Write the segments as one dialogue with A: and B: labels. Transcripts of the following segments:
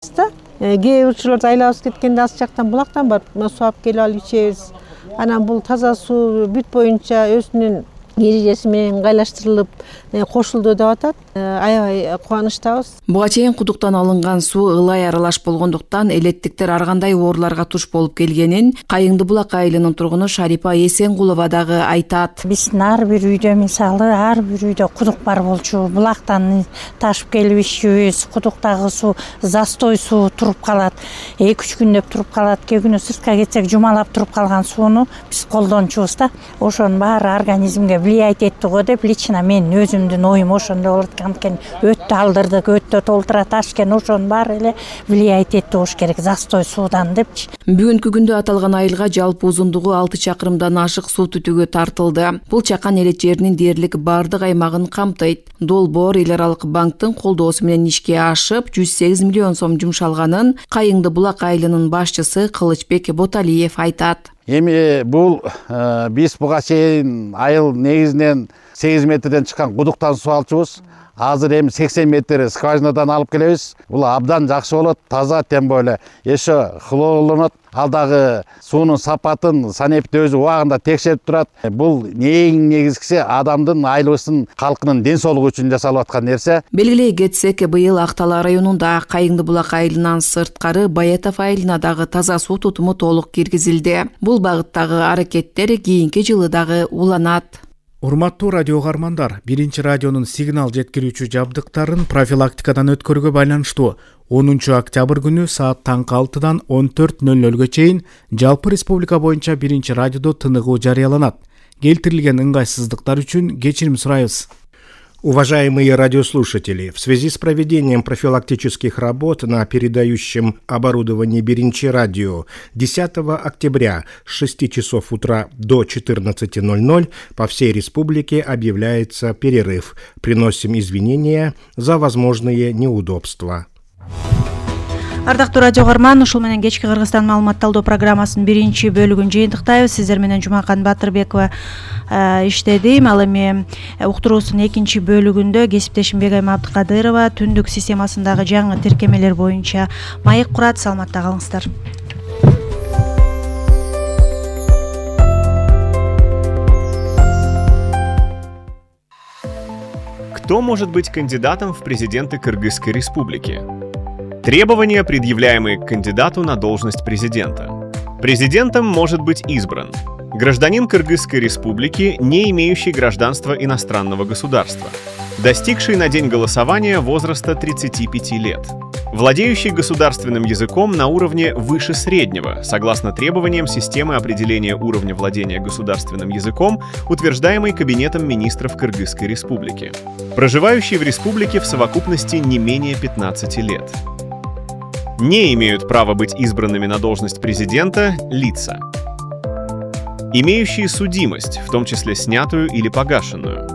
A: Кээ бир учурларда айлабыз кеткенде аз жактан булактан барып суу алып келип алып ичебиз. Анан бул таза суу бүт боюнча өзүнүн эрежеси менен ыңгайлаштырылып кошулду деп атат. Аябай кубанычтабыз.
B: Буга чейин кудуктан алынган суу ылай аралаш болгондуктан элеттиктер ар кандай ооруларга туш болуп келгенин Кайыңды булак айылынын тургуну Шарипа Эсенгулова дагы айтат.
C: Биздин ар бир үйдө мисалы ар бир үйдө кудук бар болчу. Булактан ташып келип ичүүбүз. Кудуктагы суу застой суу туруп калат. 2-3 күндөп туруп калат. Кээ күнү сыртка кетсек жумалап туруп калган сууну биз колдончубуз да. Ошонун баары организмге влиять этти го деп лично мен өзүмдүн оюм ошондой болот экен. Өтө алдырдык, өтө толтура ташкен, ошонун баары эле влиять этти болуш керек застой суудан депчи.
B: Бүгүнкү күндө аталган айылга жалпы узундугу 6 чакырымдан ашык суу түтүгү тартылды. Бул чакан элет жеринин дээрлик бардык аймагын камтыйт. Долбоор эл аралык банктын колдоосу менен ишке ашып, 108 миллион сом жумшалганын Кайыңды булак айылынын башчысы Кылычбек Боталиев айтат.
D: Эми бул биз буга чейин айыл негизинен 8 метрден чыккан кудуктан суу алчубуз. Азыр эми 80 метр скважинадан алып келебиз. Бул абдан жакшы болот, таза, тем более еще хлорлонот. Ал дагы суунун сапатын санэпт өзү убагында текшерип турат. Бул эң негизгиси адамдын, айылыбыздын калкынын ден соолугу үчүн жасалып аткан нерсе.
B: Белгилей кетсек, быйыл Актала районунда Кайыңды булак айылынан сырткары Баятов айылына дагы таза суу тутуму толук киргизилди. Бул багыттагы аракеттер кийинки жылы дагы уланат.
E: Урматтуу радио каармандар, биринчи радионун сигнал жеткирүүчү жабдыктарын профилактикадан өткөрүүгө байланыштуу 10 октябрь күнү саат таңкы 6-дан 14:00 чейин жалпы республика боюнча биринчи радиодо тыныгуу жарыяланат. Келтирилген ыңгайсыздыктар үчүн кечирим сурайбыз. Уважаемые радиослушатели, в связи с проведением профилактических работ на передающем оборудовании Биринчи радио 10 октября с 6 часов утра до 14:00 по всей республике объявляется перерыв. Приносим извинения за возможные неудобства.
F: Ардактуу радио каарман, ушул менен кечки Кыргызстан маалымат талдоо программасынын биринчи бөлүгүн жыйынтыктайбыз. Сиздер менен Жумакан Батырбекова иштедим. Ал эми уктуруусунун экинчи бөлүгүндө кесиптешим Бегайым Абдыкадырова түндүк системасындагы жаңы тиркемелер боюнча маек курат. Саламатта калыңыздар.
G: Кто может быть кандидатом в президенты Кыргызской республики? Требования, предъявляемые к кандидату на должность президента. Президентом может быть избран гражданин Кыргызской республики, не имеющий гражданства иностранного государства, достигший на день голосования возраста 35 лет, владеющий государственным языком на уровне выше среднего, согласно требованиям системы определения уровня владения государственным языком, утверждаемой Кабинетом министров Кыргызской республики, проживающий в республике в совокупности не менее 15 лет. Не имеют права быть избранными на должность президента лица, имеющие судимость, в том числе снятую или погашенную,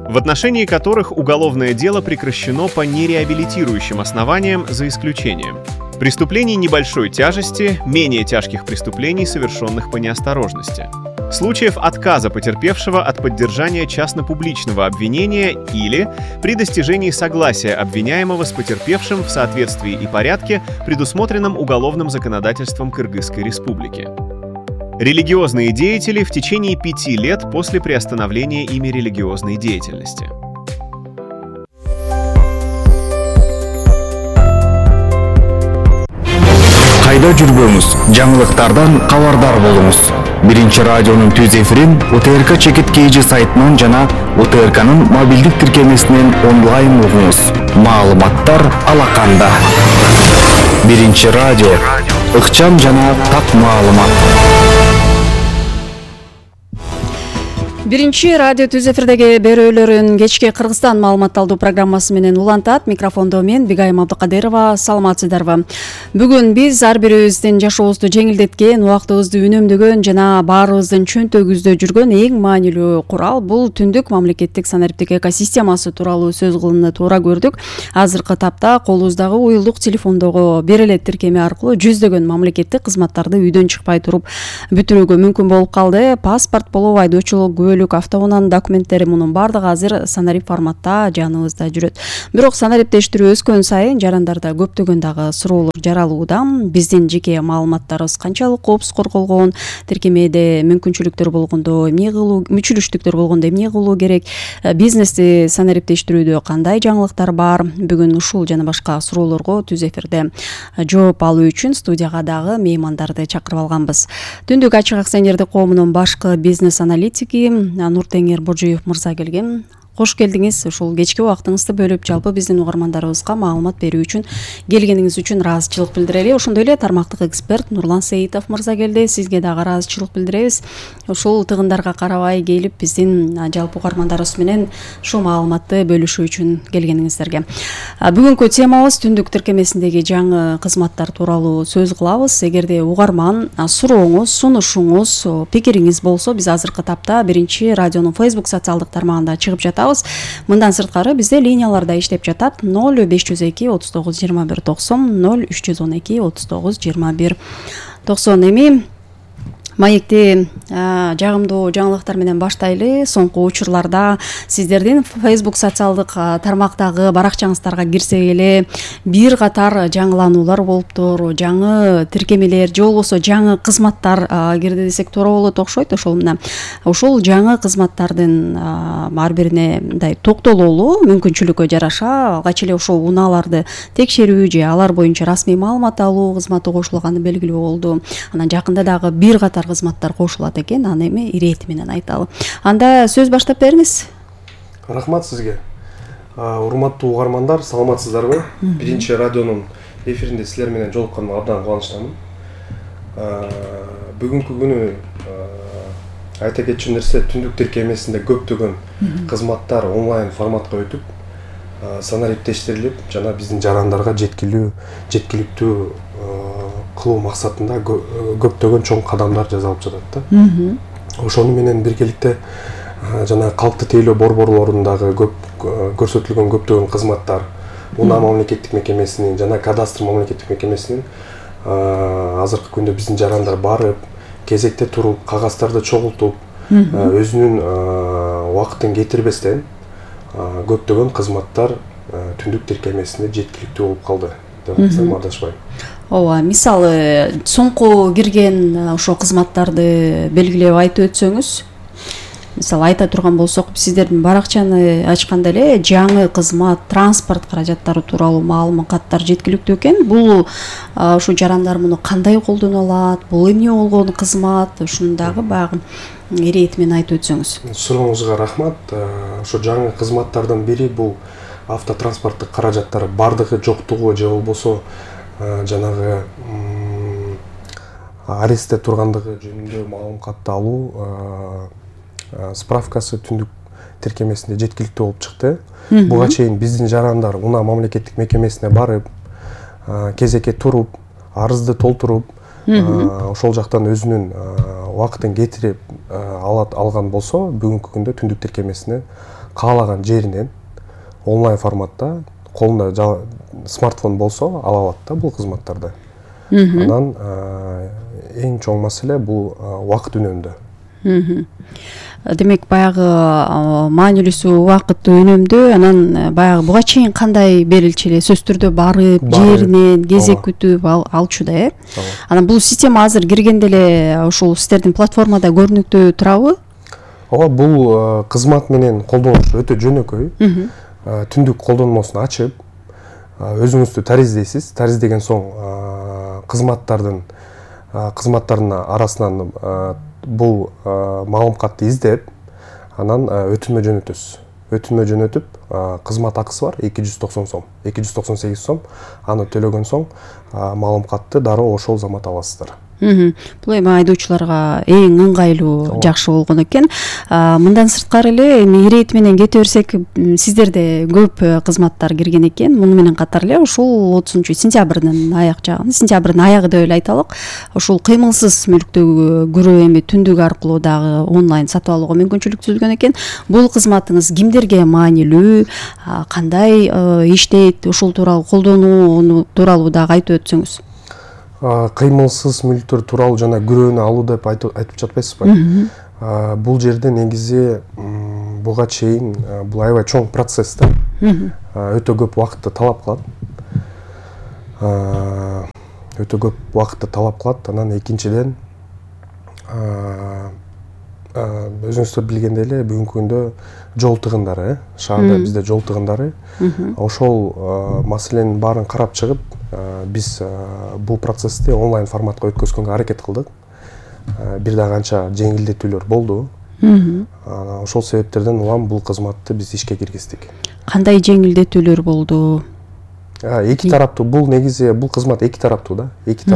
G: в отношении которых уголовное дело прекращено по нереабилитирующим основаниям за исключением преступлений небольшой тяжести, менее тяжких преступлений, совершенных по неосторожности, случаев отказа потерпевшего от поддержания частно-публичного обвинения или при достижении согласия обвиняемого с потерпевшим в соответствии и порядке, предусмотренном уголовным законодательством Кыргызской республики. Религиозные деятели в течение 5 лет после приостановления ими религиозной деятельности.
H: Кайда жүрбөңүз, жаңылыктардан кабардар болуңуз. Биринчи радионун түз эфирин УТРК чекит KG сайтынан жана УТРКнын мобилдик тиркемесинен онлайн угуңуз. Маалыматтар алаканда. Биринчи радио, ыкчам жана так маалымат.
I: Биринчи радио түз эфирдеги берүүлөрүн кечки Кыргызстан маалымат талдоо программасы менен улантат. Микрофондо мен Бегайым Абдыкадырова. Саламатсыздарбы? Бүгүн биз ар бирибиздин жашообузду жеңилдеткен, убактыбызды үнөмдөгөн жана баарыбыздын чөнтөгүбүздө жүргөн эң маанилүү курал бул түндүк мамлекеттик санариптик экосистемасы тууралуу сөз кылууну туура көрдүк. Азыркы тапта колубуздагы уюлдук телефондогу бериле тиркеме аркылуу жүздөгөн мамлекеттик кызматтарды үйдөн чыкпай туруп бүтүрүүгө мүмкүн болуп калды. Паспорт болобу, айдоочулук, бөлүк автоунаанын документтери мунун баардыгы азыр санарип форматта жаныбызда жүрөт. Бирок санариптештирүү өскөн сайын жарандарда көптөгөн дагы суроолор жаралууда. Биздин жеке маалыматтарыбыз канчалык коопсуз корголгон, тиркемеде мүмкүнчүлүктөр болгондо эмне кылуу, мүчүлүштүктөр болгондо эмне кылуу керек, бизнести санариптештирүүдө кандай жаңылыктар бар? Бүгүн ушул жана башка суроолорго түз эфирде жооп алуу үчүн студияга дагы меймандарды чакырып алганбыз. Түндүк ачык акционердик коомунун башкы бизнес аналитики Нуртеңир Божоев мырза келген. Кош келдиңиз. Ушул кечки убактыңызды бөлүп, жалпы биздин угармандарыбызга маалымат берүү үчүн келгениңиз үчүн ыраазычылык билдирели. Ошондой эле тармактык эксперт Нурлан Сейитов мырза келди. Сизге дагы ыраазычылык билдиребиз. Ушул тыгындарга карабай келип, биздин жалпы угармандарыбыз менен ушул маалыматты бөлүшүү үчүн келгениңиздерге. Бүгүнкү темабыз түндүк тиркемесиндеги жаңы кызматтар тууралуу сөз кылабыз. Эгерде угарман сурооңуз, сунушуңуз, пикириңиз болсо, биз азыркы тапта Биринчи радионун Facebook социалдык тармагында чыгып жатабыз. Мындан сырткары бизде линияларда иштеп жатат 0502 39 21 90 0312 39 21 90. Эми маекти жагымдуу жаңылыктар менен баштайлы. Соңку учурларда сиздердин Facebook социалдык тармактагы баракчаңыздарга кирсек эле бир катар жаңылануулар болуптур. Жаңы тиркемелер же болбосо жаңы кызматтар кирди десек туура болот окшойт. Ошол жаңы кызматтардын ар бирине мындай токтололуу мүмкүнчүлүккө жараша алгач эле ошол унааларды текшерүү же алар боюнча расмий маалымат алуу кызматы кошулганы белгилүү болду. Анан жакында дагы бир катар кызматтар кошулат экен. Аны эми ирети менен айталы. Анда сөз баштап бериңиз.
J: Рахмат сизге. Урматтуу угармандар, саламатсыздарбы? Биринчи радионун эфиринде силер менен жолукканыма абдан кубанычтамын. Бүгүнкү күнү айта кетчү нерсе, түндүк тиркемесинде көптөгөн кызматтар онлайн форматка өтүп, санариптештирилип, жана биздин жарандарга жеткиликтүү кылуу максатында көптөгөн чоң кадамдар жасалып жатат да. Ошону менен биргеликте жана калкты тейлөө борборлорундагы көрсөтүлгөн көптөгөн кызматтар Унаа мамлекеттик мекемесинин жана кадастр мамлекеттик мекемесинин азыркы күндө биздин жарандар барып, кезекте туруп, кагаздарды чогултуп, өзүнүн убактын кетирбестен көптөгөн кызматтар түндүк тиркемесинде жеткиликтүү болуп калды деп айтсам адашпайм.
I: Ооба, мисалы соңку кирген ошо кызматтарды белгилеп айтып өтсөңүз. Мисалы айта турган болсок, сиздердин баракчаны ачканда эле жаңы кызмат, транспорт каражаттары тууралуу маалыматтар жеткиликтүү экен. Бул ушу жарандар муну кандай колдоно алат? Бул эмне болгон кызмат? Ушуну дагы баягы ирети менен айтып өтсөңүз.
J: Сурооңузга рахмат. Ошо жаңы кызматтардын бири бул автотранспорттук каражаттар бардыгы жоктугу же болбосо жанагы арестте тургандыгы жөнүндө маалыматты алуу справкасы түндүк тиркемесинде жеткиликтүү болуп чыкты. Буга чейин биздин жарандар Унаа мамлекеттик мекемесине барып, кезекке туруп, арызды толтуруп, ошол жактан өзүнүн убактын кетирип алган болсо, бүгүнкү күндө түндүк тиркемесине каалаган жеринен онлайн форматта колунда смартфон болсо ала алат да бул кызматтарды. Анан эң чоң маселе бул убакыт үнөмдүү.
I: Демек баягы маанилүүсү убакытты үнөмдөө. Анан баягы буга чейин кандай берилчү эле сөз түрдө барып, жеринен кезек күтүп алчу да, Анан бул система азыр киргенде эле ушул сиздердин платформада көрүнүктүү турабы?
J: Ооба, бул кызмат менен колдонуш өтө жөнөкөй. Түндүк колдонмосун ачып, өзүңүздү тариздейсиз. Тариздеген соң кызматтардын арасынан бул маалыматты издеп, анан өтүнмө жөнөтөсүз. Өтүнмө жөнөтүп, кызмат акысы бар 290 сом, 298 сом. Аны төлөгөн соң маалыматты дароо ошол замат аласыздар.
I: Бул эми айдоочуларга эң ыңгайлуу, жакшы болгон экен. Мындан сырткары эле эми ирети менен кете берсек, сиздерде көп кызматтар кирген экен. Муну менен катар эле ушул 30-сентябрдын аягы деп эле айталык. Ушул кыймылсыз мүлктөгү күрөө эми түндүк аркылуу дагы онлайн сатып алууга мүмкүнчүлүк түзүлгөн экен. Бул кызматыңыз кимдерге маанилүү, кандай иштейт, ушул тууралуу колдонуу тууралуу дагы айтып өтсөңүз.
J: Кыймылсыз мүлктөр тууралуу жана күрөөнү алуу деп айтып жатпайсызбы? Бул жерде негизи буга чейин бул аябай чоң процесс да. Өтө көп убакытты талап кылат. Анан экинчиден өзүңүздөр билгендей эле бүгүнкү күндө жол тыгындары, шаарда бизде жол тыгындары, ошол маселенин баарын карап чыгып, биз бул процессти онлайн форматка өткөзгөнгө аракет кылдык. Бир да канча жеңилдетүүлөр болду. Ошол себептерден улам бул кызматты биз ишке киргиздик.
I: Кандай жеңилдетүүлөр болду?
J: Эки тараптуу, бул негизи бул кызмат эки тараптуу да. Эки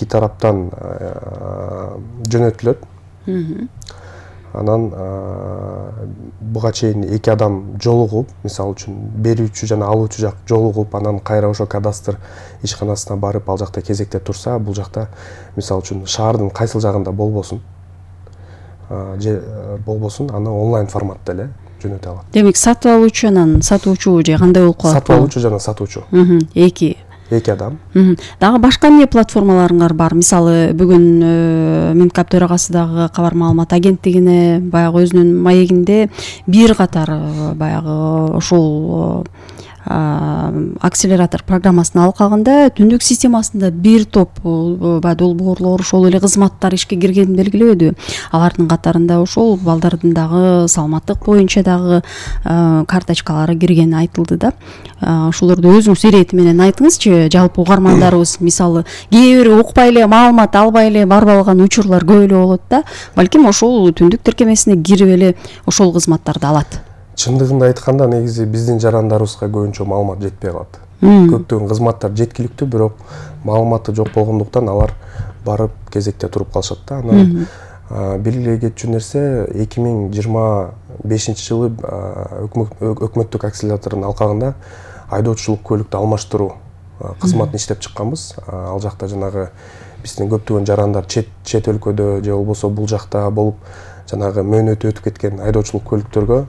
J: тараптан жөнөтүлөт. Анан буга чейин эки адам жолугуп, мисалы үчүн берүүчү жана алуучу жак жолугуп, анан кайра ошо кадастр ишканасына барып, ал жакта кезекте турса, бул жакта мисалы үчүн шаардын кайсыл жагында болбосун, анан онлайн форматта эле жөнөтө алат.
I: Демек, сатып алуучу анан сатуучу же кандай болуп калат?
J: Сатып алуучу жана сатуучу. Эки адам.
I: Дагы башка эмне платформаларыңар бар? Мисалы, бүгүн Минкап төрагасы дагы кабар маалымат агенттигине баягы өзүнүн маегинде бир катар баягы ушул акселератор программасын алып калганда түндүк системасында бир топ долбоорлор, ошол эле кызматтар ишке киргенин белгилебеди. Алардын катарында ошол балдардын дагы саламаттык боюнча дагы карточкалары киргени айтылды да. Ошолорду өзүңүз ирети менен айтыңызчы, жалпы угармандарыбыз мисалы кээ бир укпай эле, маалымат албай эле барып алган учурлар көп эле болот да. Балким ошол түндүк тиркемесине кирип эле ошол кызматтарды алат.
J: Чындыгында айтканда, негизи биздин жарандарыбызга көбүнчө маалымат жетпей калат. Көптөгөн кызматтар жеткиликтүү, бирок маалыматы жок болгондуктан алар барып кезекте туруп калышат да. Анан белгилей кетчү нерсе, 2025 жылы өкмөттүк акселератордун алкагында айдоочулук көлүктү алмаштыруу кызматын иштеп чыкканбыз. Ал жакта жанагы биздин көптөгөн жарандар чет өлкөдө же болбосо бул жакта болуп жанагы мөөнөтү өтүп кеткен айдоочулук көлүктөргө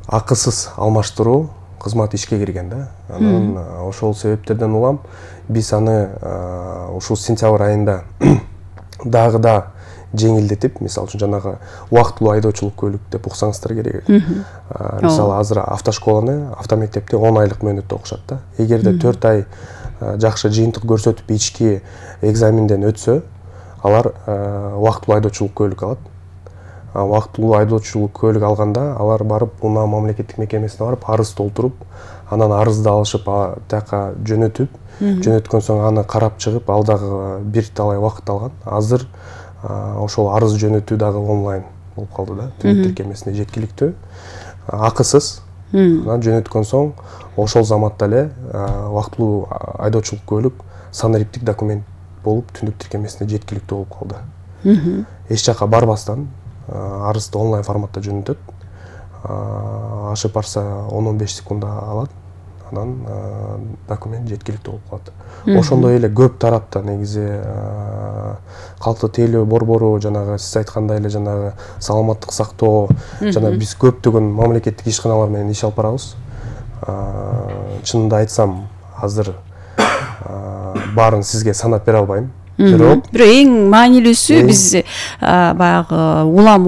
J: акысыз алмаштыруу кызматы ишке кирген да. Анан ошол себептерден улам биз аны ушул сентябрь айында дагы да жеңилдетип, мисалы үчүн жанагы убактылуу айдоочулук көлүк деп уксаңыздар керек. Мисалы азыр автошколаны, автомектепти 10 айлык мөөнөттө окушат да. Эгерде 4 ай жакшы жыйынтык көрсөтүп ички экзаменден өтсө, алар убактылуу айдоочулук көлүк алат. Убактылуу айдоочулук көлүк алганда, алар барып унаа мамлекеттик мекемесине барып арыз толтуруп, анан арызды алышып тияка жөнөтүп, жөнөткөн соң аны карап чыгып, ал дагы бир талай убакыт алган. Азыр ошол арыз жөнөтүү дагы онлайн болуп калды да. Түндүк тиркемесине жеткиликтүү, акысыз. Анан жөнөткөн соң ошол заматта эле убактылуу айдоочулук көлүк санариптик документ болуп түндүк тиркемесине жеткиликтүү болуп калды. Эч жака барбастан арызды онлайн форматта жөнөтөт. Ашып барса 10-15 секунда алат. Анан документ жеткиликтүү болуп калат. Ошондой эле көп тарапта негизи калктуу тейлөө борбору, жанагы сиз айткандай эле жанагы саламаттык сактоо, жана биз көптөгөн мамлекеттик ишканалар менен иш алып барабыз. Чынында айтсам, азыр баарын сизге санап бере албайм. Бирок
I: эң маанилүүсү биз баягы улам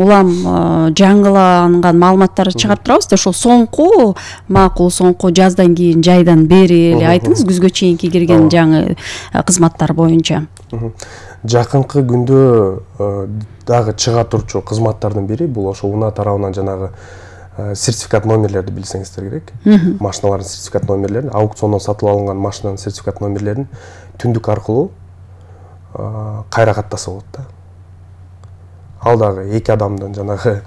I: жаңыланган маалыматтарды чыгарып турабыз да. Ошол соңку макул, соңку жаздан кийин, жайдан бери эле айтыңыз, күзгө чейинки кирген жаңы кызматтар боюнча.
J: Жакынкы күндө дагы чыга турчу кызматтардын бири бул ошо унаа тарабынан жанагы сертификат номерлерди билсеңиздер керек. Машиналардын сертификат номерлерин, аукциондон сатып алынган машинанын сертификат номерлерин түндүк аркылуу кайра каттаса болот да. Ал дагы эки адамдын жанагы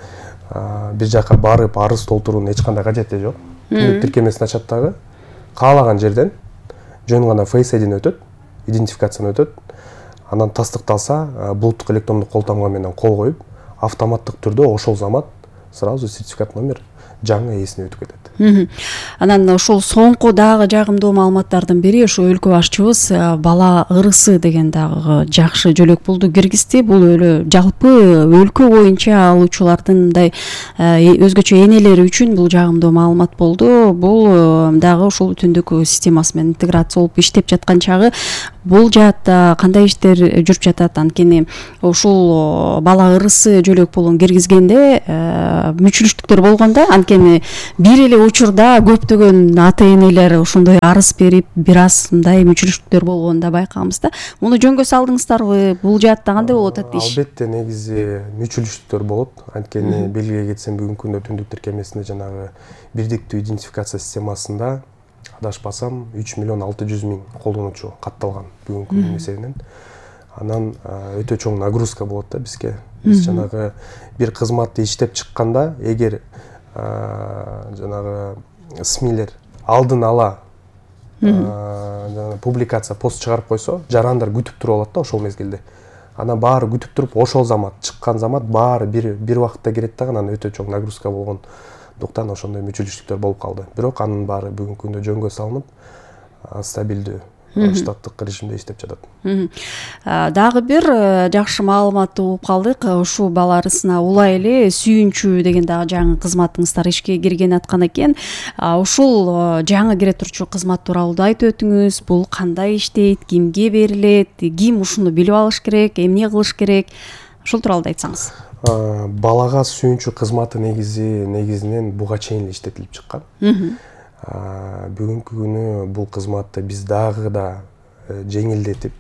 J: бир жака барып арыз толтуруунун эч кандай кажети жок. Түндүк тиркемесин ачат дагы, каалаган жерден жөн гана Face ID өтөт, идентификацияны өтөт. Анан тастыкталса, булуттук электрондук кол тамга менен кол коюп, автоматтык түрдө ошол замат сразу сертификат номер жаңы ээсине өтүп кетет.
I: Анан ошол соңку дагы жагымдуу маалыматтардын бири ошо өлкө башчыбыз бала ырысы деген дагы жакшы жөлөк болду киргизди. Бул жалпы өлкө боюнча алуучулардын мындай өзгөчө энелери үчүн бул жагымдуу маалымат болду. Бул дагы ошол түндүк системасы менен интеграция болуп иштеп жаткан чагы бул жаатта кандай иштер жүрүп жатат? Анткени ушул бала ырысы жөлөк болгон киргизгенде мүчүлүштүктөр болгондо, анткени бир эле учурда көптөгөн ата энелер ошондой арыз берип бир аз мындай мүчүлүштүктөр болгонун да байкаганбыз да. Муну жөнгө салдыңыздарбы? Бул жаатта кандай болуп атат иш?
J: Албетте негизи мүчүлүштүктөр болот. Анткени белгилей кетсем бүгүнкү күндө түндүк тиркемесинде жанагы бирдиктүү идентификация системасында адашпасам 3.600.000 колдонуучу катталган бүгүнкү күндүн эсебинен. Анан өтө чоң нагрузка болот да бизге. Биз жанагы бир кызматты иштеп чыкканда, эгер жанагы СМИлер алдын ала публикация пост чыгарып койсо, жарандар күтүп туруп алат да ошол мезгилде. Анан баары күтүп туруп, ошол замат чыккан замат баары бир убакытта кирет да, анан өтө чоң нагрузка болгондуктан ошондой мүчүлүштүктөр болуп калды. Бирок анын баары бүгүнкү күндө жөнгө салынып, стабилдүү штаттык режимде иштеп жатат.
I: Дагы бир жакшы маалыматты угуп калдык. Ушул бала арысына улай эле сүйүнчү деген дагы жаңы кызматыңыздар ишке кирген аткан экен. Ушул жаңы кире турчу кызмат тууралуу да айтып өтүңүз. Бул кандай иштейт, кимге берилет, ким ушуну билип алыш керек, эмне кылыш керек? Ушул тууралуу да айтсаңыз.
J: Балага сүйүнчү кызматы негизинен буга чейин иштетилип чыккан. Бүгүнкү күнү бул кызматты биз дагы да жеңилдетип,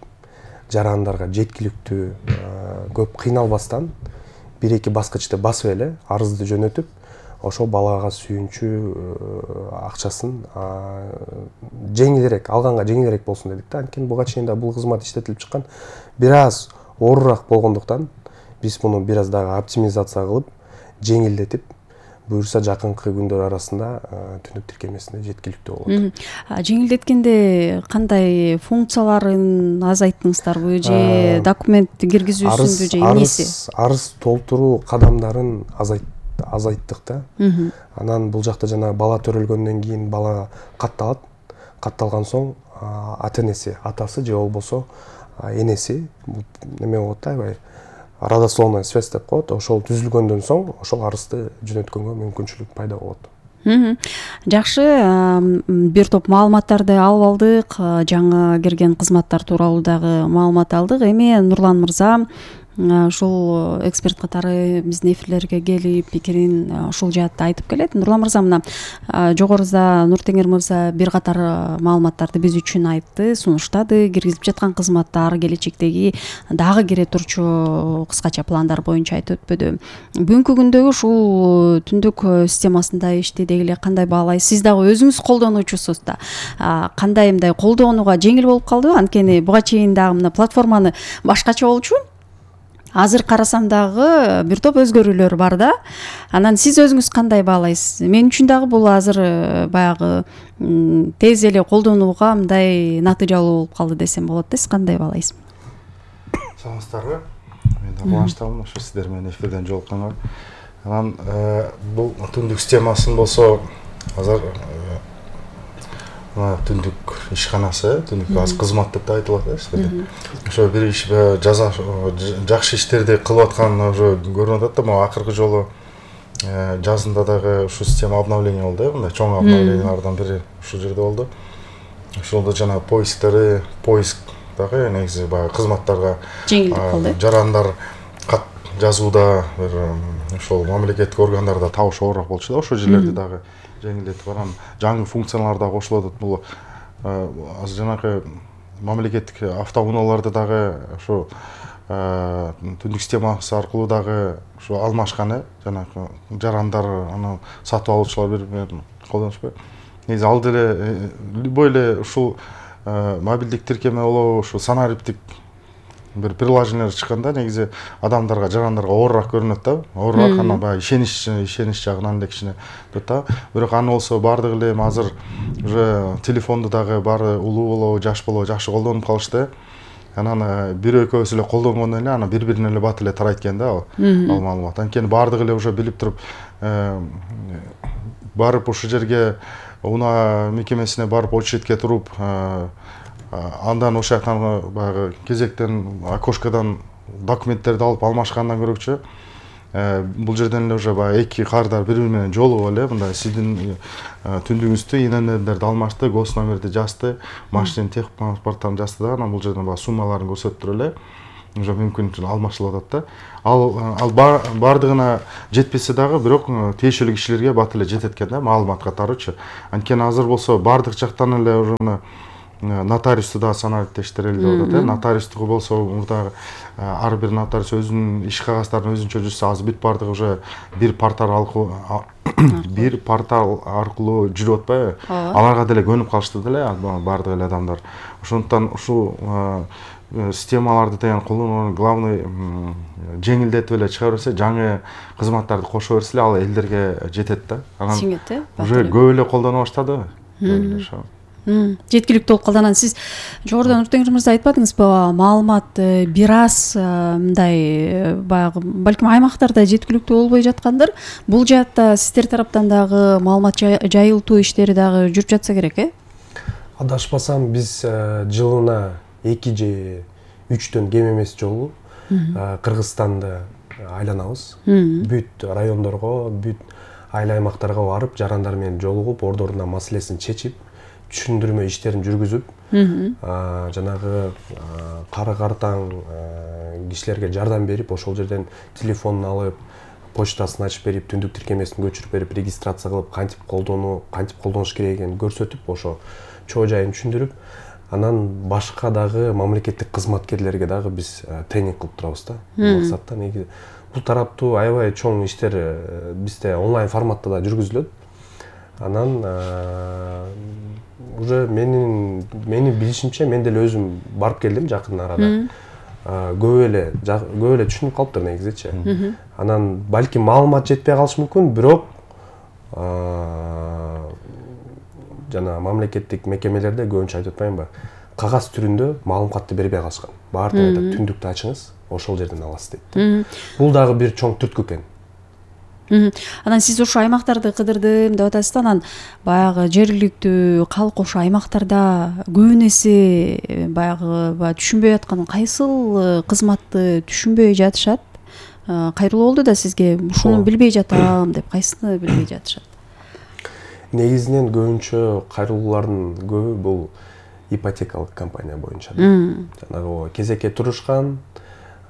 J: жарандарга жеткиликтүү, көп кыйналбастан бир-эки баскычты басып эле арызды жөнөтүп, ошол балага сүйүнчү акчасын жеңилирээк, алганга жеңилирээк болсун дедик да. Анткени буга чейин да бул кызмат иштетилип чыккан, бир аз оорураак болгондуктан биз муну бир аз дагы оптимизация кылып, жеңилдетип, буюрса жакынкы күндөр арасында түндүк тиркемесине жеткиликтүү болот.
I: Жеңилдеткенде кандай функцияларын азайттыңыздарбы же документ киргизүүсүндү же эмнеси?
J: Арыз толтуруу кадамдарын азайттык да. Анан бул жакта жана бала төрөлгөндөн кийин бала катталат. Катталган соң ата-энеси, атасы же болбосо энеси неме болот да, аябай родословная связь деп коет. Ошол түзүлгөндөн соң ошол арызды жөнөткөнгө мүмкүнчүлүк пайда болот.
I: Жакшы, бир топ маалыматтарды алып алдык. Жаңы кирген кызматтар тууралуу дагы маалымат алдык. Эми Нурлан мырза ушул эксперт катары биздин эфирлерге келип пикирин ушул жаатта айтып келет. Нурлан мырза мына жогоруда Нуртеңир мырза бир катар маалыматтарды биз үчүн айтты, сунуштады. Киргизип жаткан кызматтар, келечектеги дагы кире турчу кыскача пландар боюнча айтып өтпөдү. Бүгүнкү күндөгү ушул түндүк системасында иштеди эле кандай баалайсыз? Сиз дагы өзүңүз колдонуучусуз да. Кандай мындай колдонууга жеңил болуп калдыбы? Анткени буга чейин дагы мына платформаны башкача болчу. Азыр карасам дагы бир топ өзгөрүүлөр бар да. Анан сиз өзүңүз кандай баалайсыз? Мен үчүн дагы бул азыр баягы тез эле колдонууга мындай натыйжалуу болуп калды десем болот да. Сиз кандай баалайсыз?
K: Саламатсыздарбы? Мен да кубанычтамын ошо сиздер менен эфирден жолукканга. Анан бул түндүк системасын болсо азыр түндүк ишканасы, түндүк аз кызмат деп да айтылат да сиздерде. Ошо бир иш жакшы иштерди кылып аткан уже көрүнүп атат да. Могу акыркы жолу жазында дагы ушу система обновление болду, мындай чоң обновлениялардан бири ушул жерде болду. Ошолдо жана поисктери, поиск дагы негизи баягы кызматтарга
I: жеңилдик кылды.
K: Жарандар кат жазууда бир ошол мамлекеттик органдарда табыш оорураак болчу да, ошол жерлерди дагы жеңилдетип барам. Жаңы функциялар дагы кошулуп атат. Бул азыр жанагы мамлекеттик автоунааларды дагы ошо түндүк системасы аркылуу дагы ошо алмашкан, жанагы жарандар аны сатып алуучулар бири-бири колдонушпайбы. Негизи ал деле любой эле ушул мобилдик тиркеме болобу, ушу санариптик бир приложениелер чыкканда негизи адамдарга, жарандарга оорураак көрүнөт да. Оорураак, анан баягы ишенич жагынан эле кичине өтөт да. Бирок аны болсо баардыгы эле азыр уже телефонду дагы баары улуу болобу, жаш болобу жакшы колдонуп калышты. анан бир экөөбүз эле колдонгондон эле анан бири бирине эле бат эле тарайт экен да ал маалымат. Анткени баардыгы эле уже билип туруп барып ушул жерге унаа мекемесине барып очередке туруп андан ошол жактан баягы кезектен окошкадан документтерди алып алмашкандан көрөкчү бул жерден эле уже баягы эки кардар бири бири менен жолугуп эле мындай сиздин түндүгүңүздү ИННдерди алмашты, гос номерди жазды, машинанын техпаспорттарын жазды да анан бул жерден баягы суммаларын көрсөтүп туруп эле уже мүмкүн алмашылып атат да. Ал баардыгына жетпесе дагы бирок тиешелүү кишилерге бат эле жетет экен да маалымат катарычы. Анткени азыр болсо баардык жактан эле уже нотариусту да санариптештер эле деп атат. Нотариустугу болсо мурдагы ар бир нотариус өзүнүн иш кагаздарын өзүнчө жүрсө азыр бүт баардыгы уже бир портал аркылуу жүрүп атпайбы? Аларга деле көнүп калышты деле баардык эле адамдар. Ошондуктан ушул системаларды деген колдонууну главный жеңилдетип эле чыгара берсе, жаңы кызматтарды кошо берсе ал элдерге жетет да. Анан уже көп эле колдоно баштады.
I: Жеткиликтүү болуп калды. Анан сиз жогоруда Нуртеңир мырза айтпадыңызбы, маалымат бир аз мындай баягы балким аймактарда жеткиликтүү болбой жаткандыр. Бул жаатта сиздер тараптан дагы маалымат жайылтуу иштери дагы жүрүп жатса керек,
J: Адашпасам биз жылына 2 же 3 кем эмес жолу Кыргызстанды айланабыз. Бүт райондорго, бүт айыл аймактарга барып, жарандар менен жолугуп, ордорунда маселесин чечип, түшүндүрмө иштерин жүргүзүп, жанагы кары картаң кишилерге жардам берип, ошол жерден телефонун алып, почтасын ачып берип, түндүк тиркемесин көчүрүп берип, регистрация кылып, кантип колдонуш керек экенин көрсөтүп, ошо чоо жайын түшүндүрүп, анан башка дагы мамлекеттик кызматкерлерге дагы биз тренинг кылып турабыз да. Максатта негизи бул тараптуу аябай чоң иштер бизде онлайн форматта да жүргүзүлөт. Анан уже менин билишимче мен деле өзүм барып келдим жакын арада. Көп эле түшүнүп калыптыр негизичи. Анан балким маалымат жетпей калышы мүмкүн, бирок жана мамлекеттик мекемелерде көбүнчө айтып атпаймынбы, кагаз түрүндө маалыматты бербей калышкан. Баардыгы айтат, түндүктү ачыңыз, ошол жерден аласыз дейт. Бул дагы бир чоң түрткү экен.
I: Анан сиз ошо аймактарды кыдырдым деп атасыз да, анан баягы жергиликтүү калк ошо аймактарда көбүн эсе баягы түшүнбөй аткан кайсыл кызматты түшүнбөй жатышат? Кайрылуу болду да сизге ушуну билбей жатам деп, кайсыны билбей жатышат?
J: Негизинен көбүнчө кайрылуулардын көбү бул ипотекалык компания боюнча. Жанагы кезекке турушкан,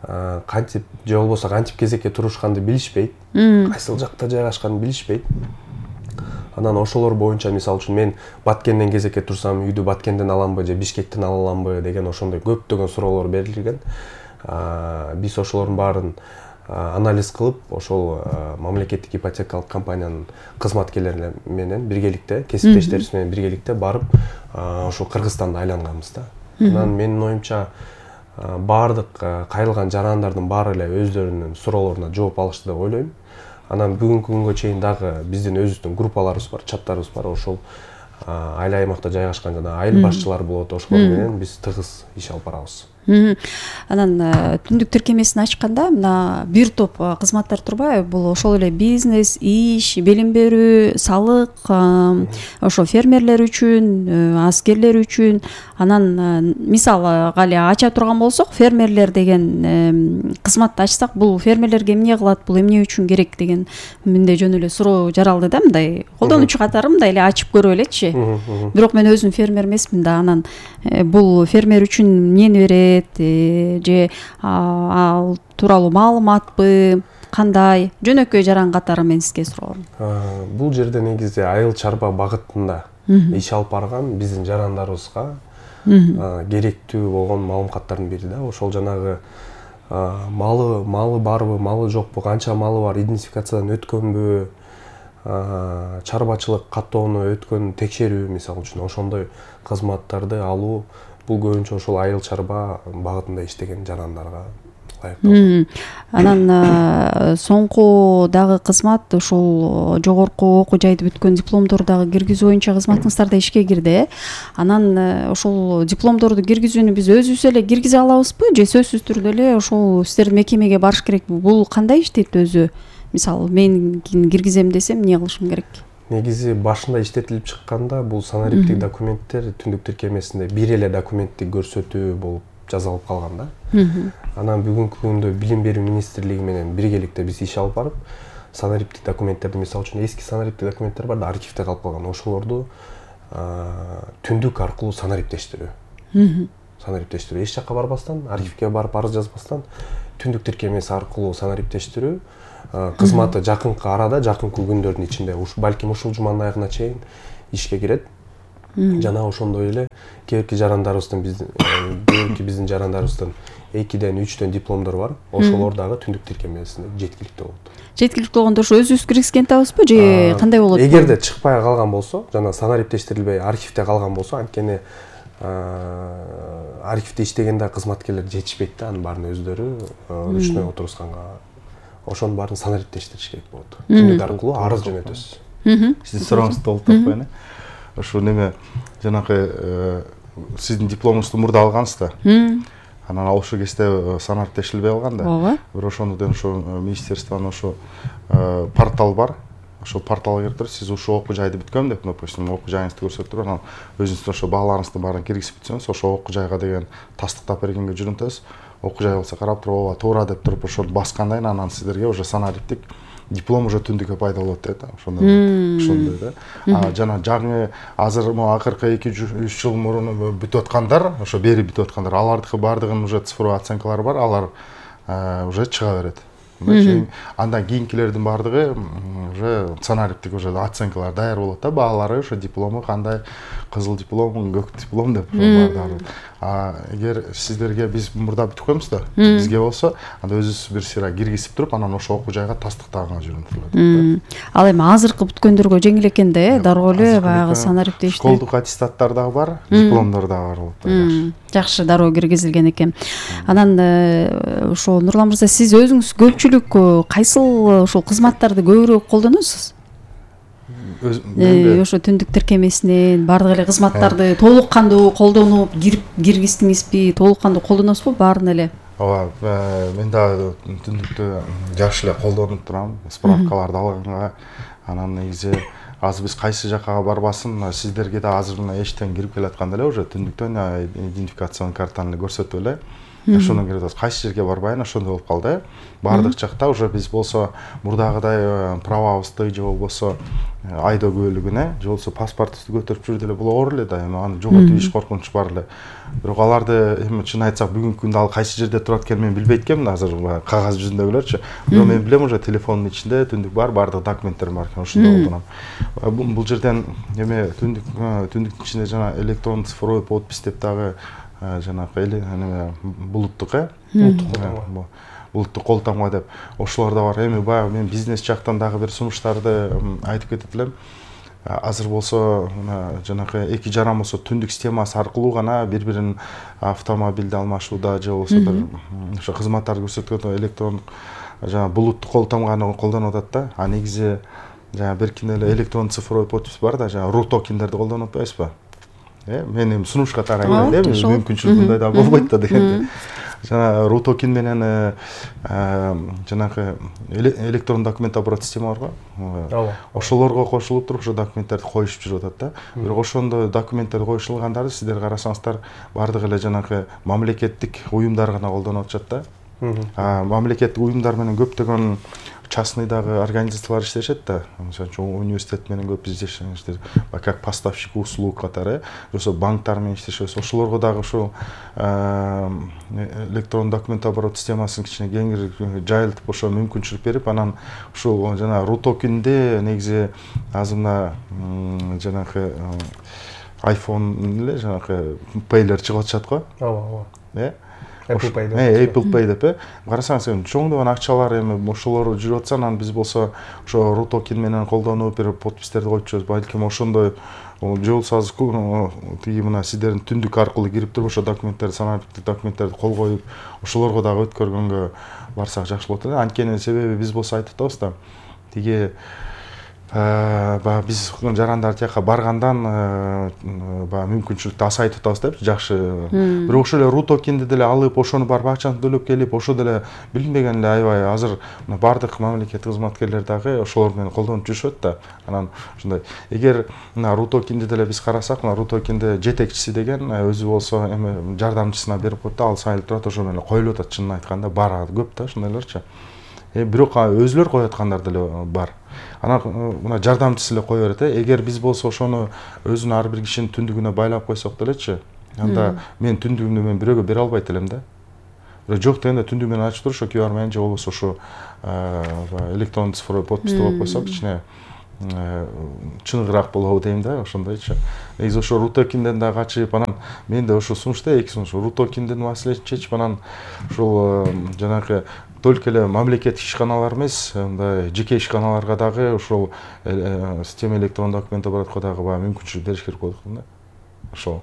J: кантип же болбосо кантип кезекке турушканды билишпейт, кайсыл жакта жайгашканын билишпейт. Анан ошолор боюнча мисалы үчүн мен Баткенден кезекке турсам, үйдү Баткенден аламбы же Бишкектен ала аламбы деген ошондой көптөгөн суроолор берилген. Биз ошолордун баарын анализ кылып, ошол мамлекеттик ипотекалык компаниянын кызматкерлери менен биргеликте, кесиптештерибиз менен биргеликте барып, ошол Кыргызстанды айланганбыз да. Анан менин оюмча баардык кайрылган жарандардын баары эле өздөрүнүн суроолоруна жооп алышты деп ойлойм. Анан бүгүнкү күнгө чейин дагы биздин өзүбүздүн группаларыбыз бар, чаттарыбыз бар. Ошол айыл аймакта жайгашкан жана айыл башчылары болот, ошолор менен биз тыгыз иш алып барабыз.
I: Анан түндүк тиркемесин ачканда мына бир топ кызматтар турбайбы? Бул ошол эле бизнес, иш, билим берүү, салык, ошо фермерлер үчүн, аскерлер үчүн. Анан мисалы эле ача турган болсок, фермерлер деген кызматты ачсак, бул фермерлерге эмне кылат, бул эмне үчүн керек деген менде жөн эле суроо жаралды да, мындай колдонуучу катары мындай эле ачып көрүп элечи. Бирок мен өзүм фермер эмесмин да, анан бул фермер үчүн эмнени берет, же ал тууралуу маалыматпы, кандай? Жөнөкөй жаран катары мен сизге суроом.
J: Бул жерде негизи айыл чарба багытында иш алып барган биздин жарандарыбызга керектүү болгон маалыматтардын бири да. Ошол жанагы малы барбы, малы жокпу, канча малы бар, идентификациядан өткөнбү, чарбачылык каттоону өткөн текшерүү мисалы үчүн ошондой кызматтарды алуу. Бул көбүнчө ошол айыл чарба багытында иштеген жарандарга аякталды.
I: Анан соңку дагы кызмат ушул жогорку окуу жайды бүткөн дипломдорду дагы киргизүү боюнча кызматыңыздар да ишке кирди. Анан ушул дипломдорду киргизүүнү биз өзүбүз эле киргизе алабызбы же сөзсүз түрдө эле ушул сиздердин мекемеге барыш керекпи? Бул кандай иштейт өзү? Мисалы мен киргизем десем эмне кылышым керек?
J: Негизи башында иштетилип чыкканда бул санариптик документтер түндүк тиркемесинде бир эле документти көрсөтүү болуп жазалып калган да. Анан бүгүнкү күндө Билим берүү министрлиги менен биргеликте биз иш алып барып, санариптик документтерди, мисалы үчүн эски санариптик документтер бар да, архивде калып калган. Ошолорду түндүк аркылуу санариптештирүү. Санариптештирүү эч жакка барбастан, архивге барып арыз жазбастан түндүк тиркемеси аркылуу санариптештирүү кызматы жакынкы арада, жакынкы күндөрдүн ичинде, балким ушул жуманын аягына чейин ишке кирет. Жана ошондой эле кээки биздин жарандарыбыздын 2ден 3дөн дипломдор бар. Ошолор дагы түндүк тиркемесинде жеткиликтүү болот.
I: Жеткиликтүү болгондо ошо өзүбүз киргизген атабызбы же кандай болот?
J: Эгерде чыкпай калган болсо, жана санариптештирилбей архивде калган болсо, анткени архивде иштегенде кызматкерлер жетишпейт да, анын баарын өздөрү ручной отурусканга. Ошонун баарын санариптештириш керек болот. Түндүк аркылуу арыз жөнөтөсүз.
K: Сиздин сурооңузду толуктап коеюн. Ошо неме жанагы сиздин дипломуңузду мурда алгансыз да. Анан ошол кезде санариптештирилбей калган да. Бирок ошондон ошо министерствонун ошо портал бар. Ошол порталга кирип туруп сиз ушул окуу жайды бүткөм деп, допустим, окуу жайыңызды көрсөтүп туруп, анан өзүңүздүн ошо бааларыңыздын баарын киргизип бүтсөңүз, ошо окуу жайга деген тастыктап бергенге жүрүнтөсүз. Окуу жай болсо карап туруп, ооба, туура деп туруп ошону баскандан анан сиздерге уже санариптик диплом уже түндүккө пайда болот дейт да. Ошондой да. Жана жаңы азыр акыркы 2-3 жыл мурун бүтүп аткандар, ошо бери бүтүп аткандар, алардыкы баардыгынын уже цифровой оценкалары бар, алар уже чыга берет. Андан кийинкилердин баардыгы уже санариптик уже оценкалар даяр болот да, баалары ошо диплому кандай, кызыл диплом, көк диплом деп баардыгы. Эгер сиздерге биз мурда бүтүп коебуз да, бизге болсо, анда өзүбүз бир сыйра киргизип туруп, анан ошо окуу жайга тастыктаганга жүрүнүлөт.
I: Ал эми азыркы бүткөндөргө жеңил экен да, дароо эле баягы санариптештир.
K: Школдук аттестаттар дагы бар, дипломдор дагы бар болуп турат.
I: Жакшы, дароо киргизилген экен. Анан ошо Нурлан мырза, сиз өзүңүз көпчүлүк кайсыл ошол кызматтарды көбүрөөк колдоносуз? Ошо түндүк тиркемесинен баардык эле кызматтарды толук кандуу колдонуп киргиздиңизби, толук кандуу колдоносузбу баарын эле?
K: Ооба, мен дагы түндүктү жакшы эле колдонуп турам, справкаларды алганга. Анан негизи азыр биз кайсы жакка барбасын, сиздерге да азыр мына эчтен кирип келатканда эле уже түндүктөн идентификацион картаны көрсөтүп эле ошондон кирип атабыз. Кайсы жерге барбайын, ошондой болуп калды. Баардык жакта уже биз болсо мурдагыдай правабызды же болбосо айдоо куөлүгүнө, же болбосо паспортубузду көтөрүп жүрдү эле, бул оор эле да, эми аны жоготуп иш коркунуч бар эле. Бирок аларды эми чын айтсак бүгүнкү күндө ал кайсы жерде турат экенин мен билбейт экенмин азыр кагаз жүзүндөгүлөрчү. Бирок мен билем уже телефондун ичинде түндүк бар, бардык документтерим бар экен, ошондой колдоном. Бул жерден эме түндүктүн ичинде жана электрондук цифровой подпись деп дагы жанагы булуттук булуттук кол тамга деп ошолор да бар. Эми баягы мен бизнес жактан дагы бир сунуштарды айтып кетет элем. Азыр болсо жанагы эки жаран болсо түндүк системасы аркылуу гана бири-бирин автомобилди алмашууда же болбосо бир ошо кызматтарды көрсөткөндө электрондук жана булуттук кол тамганы колдонуп атат да. А негизи жана беркинде эле электрондук цифровой подпись бар да, жана ру токендерди колдонуп атпайбызбы? Мен эми сунуш катары айтканда мүмкүнчүлүк мындай да болбойт да дегенде. Жана ру токен менен жанагы электрон документ оборот система бар го. Ошолорго кошулуп туруп ошо документтерди коюшуп жүрүп атат да. Бирок ошондо документтер коюшулгандарды сиздер карасаңыздар баардык эле жанагы мамлекеттик уюмдар гана колдонуп атышат да. Мамлекеттик уюмдар менен көптөгөн частный дагы организациялар иштешет да. Мисалы үчүн университет менен көп иштешет, как поставщик услуг катары, ошо банктар менен иштешет. Ошолорго дагы ушул электрон документ оборот системасын кичине кеңири жайылтып ошо мүмкүнчүлүк берип, анан ушул жана ру токенде негизи азыр мына жанагы iPhone эле жанагы Paylер чыгып атышат го.
J: Ооба. Apple Pay
K: деп карасаңыз эми чоңдогон акчалар эми ошолор жүрүп атса, анан биз болсо ошо RUTOKEN менен колдонуп бир подпистерди коюп жүрөбүз. Балким ошондой же болбосо тиги мына сиздердин түндүк аркылуу кирип туруп ошо документтерди, санариптик документтерди кол коюп ошолорго дагы өткөргөнгө барсак жакшы болот эле. Анткени себеби биз болсо айтып атабыз да, тиги биз жарандар тияка баргандан мүмкүнчүлүктү азайтып атабыз деп жакшы. Бирок ошол эле RUTOKENди деле алып, ошону барып акчаны төлөп келип, ошо деле билинбеген эле аябай азыр бардык мамлекеттик кызматкерлер дагы ошолор менен колдонуп жүрүшөт да. Анан ошондой эгер мына RUTOKENди деле биз карасак, мына RUTOKENди жетекчиси деген өзү болсо эми жардамчысына берип коет да, ал сайылып турат, ошо менен коюлуп атат. Чынын айтканда бар көп да ошондойлорчу. Бирок өзүлөр коюп аткандар деле бар. Анан мына жардамчысы эле кое берет. Эгер биз болсо ошону өзүнүн ар бир кишинин түндүгүнө байлап койсок делечи, анда мен түндүгүмдү мен бирөөгө бере албайт элем да. Бирок жок дегенде түндүгү менен ачып туруп ошо QR менен же болбосо ошо электрондук цифровой подписти коюп койсок, кичине чыныгыраак болобу дейм да, ошондойчу. Негизи ошо RUTOKENден да качып, анан мен да ошо сунуш да, эки сунуш. RUTOKENдин маселесин чечип, анан ошол жанагы только эле мамлекеттик ишканалар эмес, мындай жеке ишканаларга дагы ошол система электрондук документ оборотко дагы мүмкүнчүлүк бериш керек болот да. Ошол.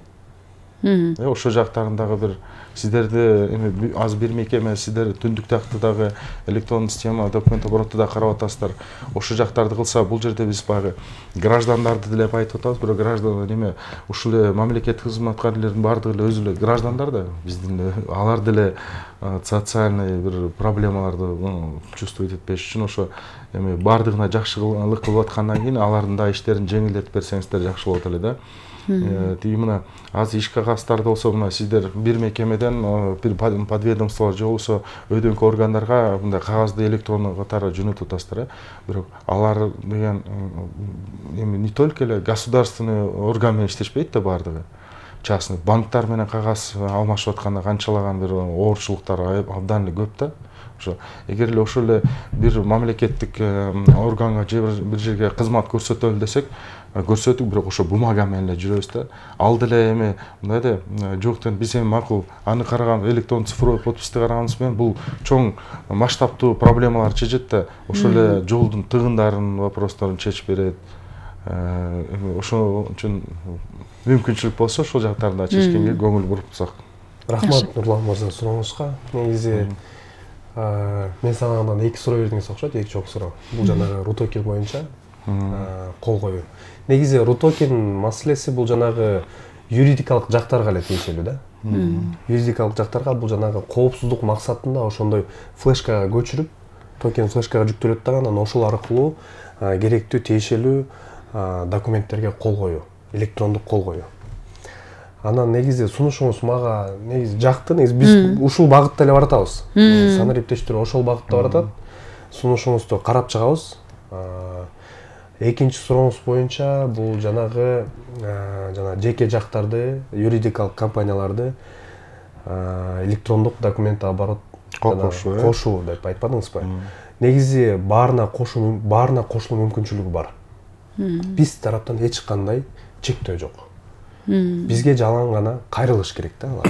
K: Ошо жактарын дагы бир сиздерди эми аз бир мекеме сиздер түндүк такты дагы электрондук система документ обороту да карап атасыздар. Ошо жактарды кылса, бул жерде биз баягы граждандарды деле айтып атабыз, бирок граждан эме ушул эле мамлекеттик кызматкерлердин баардыгы эле өзү эле граждандар да, биздин алар деле социальный бир проблемаларды чувствовать этпеш үчүн ошо эми баардыгына жакшылык кылып аткандан кийин алардын да иштерин жеңилдетип берсеңиздер жакшы болот эле да. Тиги мына азыр иш кагаздарда болсо мына сиздер бир мекемеден бир подведомстволор же болбосо өйдөнкү органдарга мындай кагазды электрондуу катары жөнөтүп атасыздар, бирок алар деген эми не только эле государственный орган менен иштешпейт да баардыгы. Частный банктар менен кагаз алмашып атканда канчалаган бир оорчулуктар абдан эле көп да. Ошо эгер эле ошол эле бир мамлекеттик органга же бир жерге кызмат көрсөтөлү десек, көрсөтүк, бирок ошо бумага менен эле жүрөбүз да. Ал деле эми мындай да жок деген биз эми макул аны караган электрондук цифровой подписти караганыбыз менен бул чоң масштабтуу проблемаларды чечет да. Ошол эле жолдун тыгындарынын вопросторун чечип берет. Ошол үчүн мүмкүнчүлүк болсо ошол жактарды да чечкенге көңүл бурупсак.
J: Рахмат Нурлан мырза сурооңузга. Негизи мен сага андан эки суроо бердиңиз окшойт, эки чоң суроо. Бул жанагы RUTOKEN боюнча кол коюу. Негизи RUTOKEN маселеси бул жанагы юридикалык жактарга эле тиешелүү да. Юридикалык жактарга бул жанагы коопсуздук максатында ошондой флешкага көчүрүп, токен флешкага жүктөлөт дагы, анан ошол аркылуу керектүү тиешелүү документтерге кол коюу, электрондук кол коюу. Анан негизи сунушуңуз мага негизи жакты. Негизи биз ушул багытта эле баратабыз. Санариптештирүү ошол багытта баратат. Сунушуңузду карап чыгабыз. Экинчи сурооңуз боюнча бул жанагы жеке жактарды, юридикалык компанияларды электрондук документ оборот кошуу деп айтпадыңызбы? Негизи баарына кошулуу мүмкүнчүлүгү бар. Биз тараптан эч кандай чектөө жок. Бизге жалаң гана кайрылыш керек да алар.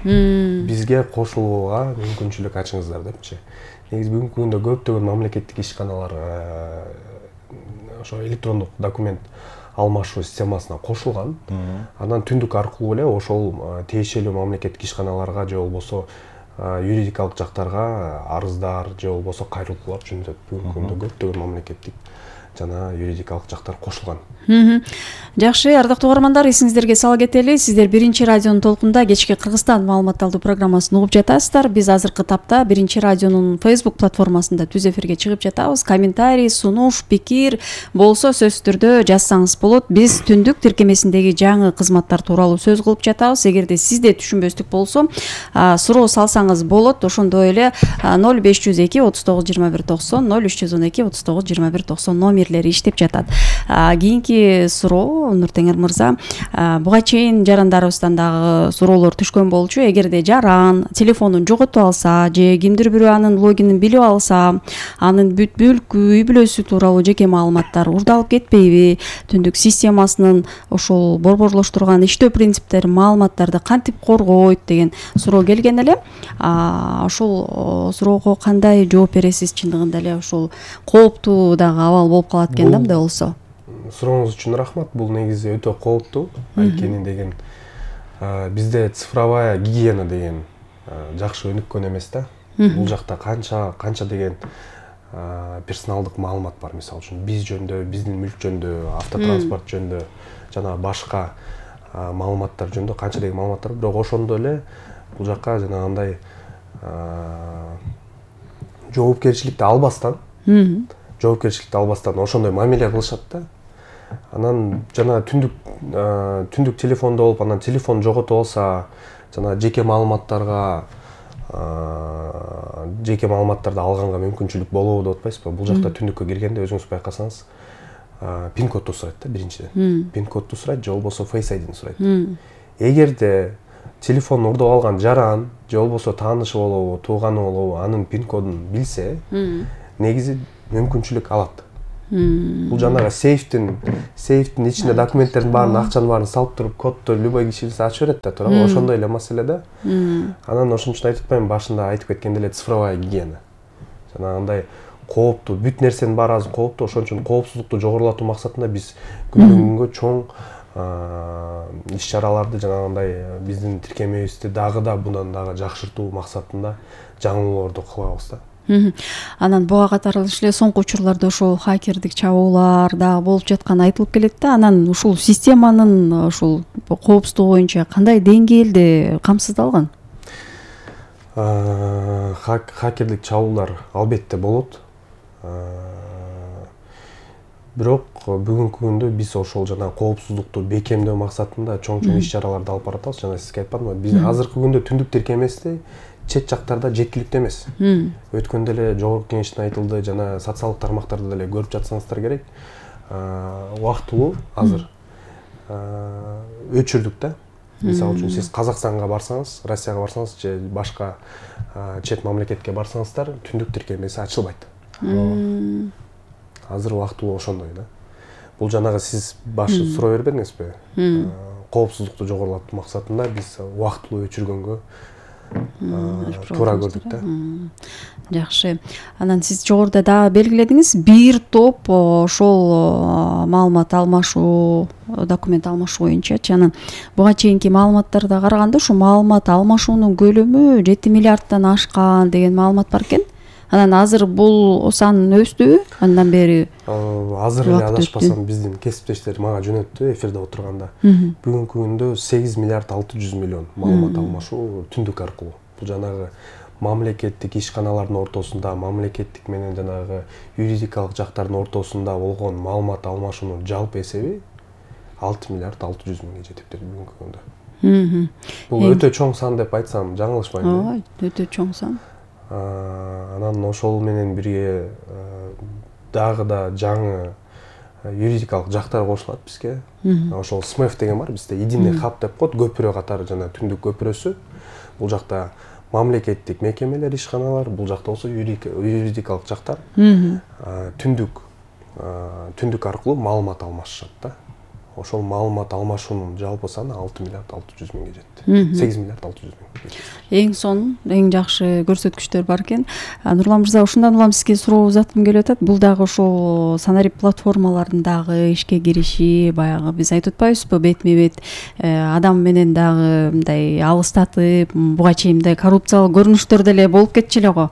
J: Бизге кошулууга мүмкүнчүлүк ачыңыздар депчи. Негизи бүгүнкү күндө көптөгөн мамлекеттик ишканалар ошо электрондук документ алмашуу системасына кошулган. Анан түндүк аркылуу эле ошол тиешелүү мамлекеттик ишканаларга же болбосо юридикалык жактарга арыздар же болбосо кайрылуулар жөнөтөт. Бүгүнкү күндө көптөгөн мамлекеттик жана юридикалык жактар кошулган.
I: Жакшы, ардактуу угармандар, эсиңиздерге сала кетели. Сиздер Биринчи радионун толкунда кечки Кыргызстан маалымат алуу программасын угуп жатасыздар. Биз азыркы тапта Биринчи радионун Facebook платформасында түз эфирге чыгып жатабыз. Комментарий, сунуш, пикир болсо сөзсүз түрдө жазсаңыз болот. Биз түндүк тиркемесиндеги жаңы кызматтар тууралуу сөз кылып жатабыз. Эгерде сизде түшүнбөстүк болсо, суроо салсаңыз болот. Ошондой эле 0502 39 21 90, 0312 39 21 90 фермерлери иштеп жатат. Кийинки суроо Нуртеңир мырза, буга чейин жарандарыбыздан дагы суроолор түшкөн болчу. Эгерде жаран телефонун жоготуп алса же кимдир бирөө анын логинин билип алса, анын бүт бүлкү, үй бүлөсү тууралуу жеке маалыматтар урдалып кетпейби? Түндүк системасынын ошол борборлоштурган иштөө принциптери маалыматтарды кантип коргойт деген суроо келген эле. Ошол суроого кандай жооп бересиз? Чындыгында эле ошол кооптуу дагы абал болуп калат экен да мындай болсо.
J: Сурооңуз үчүн рахмат. Бул негизи өтө кооптуу анткени деген бизде цифровая гигиена деген жакшы өнүккөн эмес да. Бул жакта канча деген персоналдык маалымат бар. Мисалы үчүн биз жөнүндө, биздин мүлк жөнүндө, автотранспорт жөнүндө жана башка маалыматтар жөнүндө канча деген маалыматтар бар. Бирок ошондо эле бул жакка жанагындай жоопкерчиликти албастан ошондой мамиле кылышат да. Анан жана түндүк телефондо болуп, анан телефон жоготуп алса, жана жеке маалыматтарды алганга мүмкүнчүлүк болобу деп атпайсызбы? Бул жакта түндүккө киргенде өзүңүз байкасаңыз, пин кодду сурайт да биринчиден. Пин кодду сурайт, же болбосо Face ID-ни сурайт. Эгерде телефон урдап алган жаран, же болбосо таанышы болобу, тууганы болобу, анын пин кодун билсе, негизи мүмкүнчүлүк алат. Бул жанагы сейфтин ичинде документтердин баарын, акчанын баарын салып туруп, кодду любой киши билсе ачып берет да, туурабы? Ошондой эле маселе да. Анан ошон үчүн айтып атпаймынбы, башында айтып кеткендей эле цифровая гигиена. Жанагындай кооптуу, бүт нерсенин баары азыр кооптуу, ошон үчүн коопсуздукту жогорулатуу максатында биз күндөн күнгө чоң иш-чараларды жанагындай биздин тиркемебизди дагы да bundan дагы жакшыртуу максатында жаңылууларды кылабыз да.
I: Анан буга катарлаш эле соңку учурларда ошол хакердик чабуулар дагы болуп жатканы айтылып келет да. Анан ушул системанын ушул коопсуздугу боюнча кандай деңгээлде камсыздалган?
J: Хакердик чабуулар албетте болот. Бирок бүгүнкү күндө биз ошол жана коопсуздукту бекемдөө максатында чоң иш-чараларды алып баратабыз. Жана сизге айтпадымбы, биз азыркы күндө түндүк тиркемеси чет жактарда жеткиликтүү эмес. Өткөндө эле жогорку кеңештин айтылды, жана социалдык тармактарда деле көрүп жатсаңыздар керек. Убактылуу азыр өчүрдүк да. Мисалы үчүн сиз Казакстанга барсаңыз, Россияга барсаңыз же башка чет мамлекетке барсаңыздар, түндүк тиркемеси ачылбайт. Азыр убактылуу ошондой да. Бул жанагы сиз башы суроо бербедиңизби? Коопсуздукту жогорулатуу максатында биз убактылуу өчүргөнгө туура көрдүк да.
I: Жакшы. Анан сиз жогоруда дагы белгиледиңиз, бир топ ошол маалымат алмашуу, документ алмашуу боюнча. Анан буга чейинки маалыматтарга караганда ушу маалымат алмашуунун көлөмү 7 миллиарддан ашкан деген маалымат бар экен. Анан азыр бул сан өстүбү? Андан бери
J: азыр эле адашпасам биздин кесиптештер мага жөнөттү эфирде отурганда. Бүгүнкү күндө 8 миллиард 600 миллион маалымат алмашуу түндүк аркылуу. Бул жанагы мамлекеттик ишканалардын ортосунда, мамлекеттик менен жанагы юридикалык жактардын ортосунда болгон маалымат алмашуунун жалпы эсеби 6 миллиард 600 миңге жетиптир бүгүнкү күндө. Бул өтө чоң сан деп айтсам жаңылышпайм.
I: Ооба, өтө чоң сан.
J: Анан ошол менен бирге дагы да жаңы юридикалык жактар кошулат бизге. Ошол СМЭФ деген бар бизде, единый хаб деп коет, көпүрө катары жана түндүк көпүрөсү. Бул жакта мамлекеттик мекемелер, ишканалар, бул жакта болсо юридикалык жактар түндүк аркылуу маалымат алмашышат да. Ошол маалымат алмашуунун жалпы саны 6 миллиард 600 миңге жетти. 8 миллиард 600 миң.
I: Эң сонун, эң жакшы көрсөткүчтөр бар экен. Нурлан мырза, ушундан улам сизге суроо узаткым келип атат. Бул дагы ошол санарип платформалардын дагы ишке кириши, баягы биз айтып атпайбызбы, бетме-бет адам менен дагы мындай алыстатып, буга чейин мындай коррупциялык көрүнүштөр деле болуп кетчү эле го.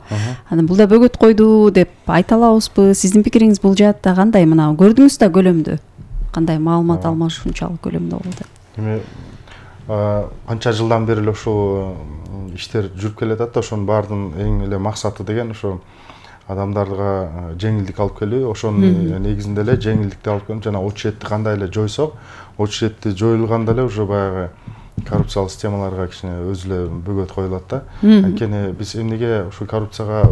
I: Анан бул да бөгөт койду деп айта алабызбы? Сиздин пикириңиз бул жаатта кандай? Мына көрдүңүз да көлөмдү? Кандай маалымат алмашуунчалык көлөмдө болду?
K: Эми канча жылдан бери эле ушул иштер жүрүп келатат да, ошонун баардын эң эле максаты деген ошо адамдарга жеңилдик алып келүү, ошонун негизинде эле жеңилдикти алып келип жана очередти кандай эле жойсок, очередти жоюлганда эле уже баягы коррупциялык системаларга кичине өзү эле бөгөт коюлат да. Анткени биз эмнеге ушу коррупцияга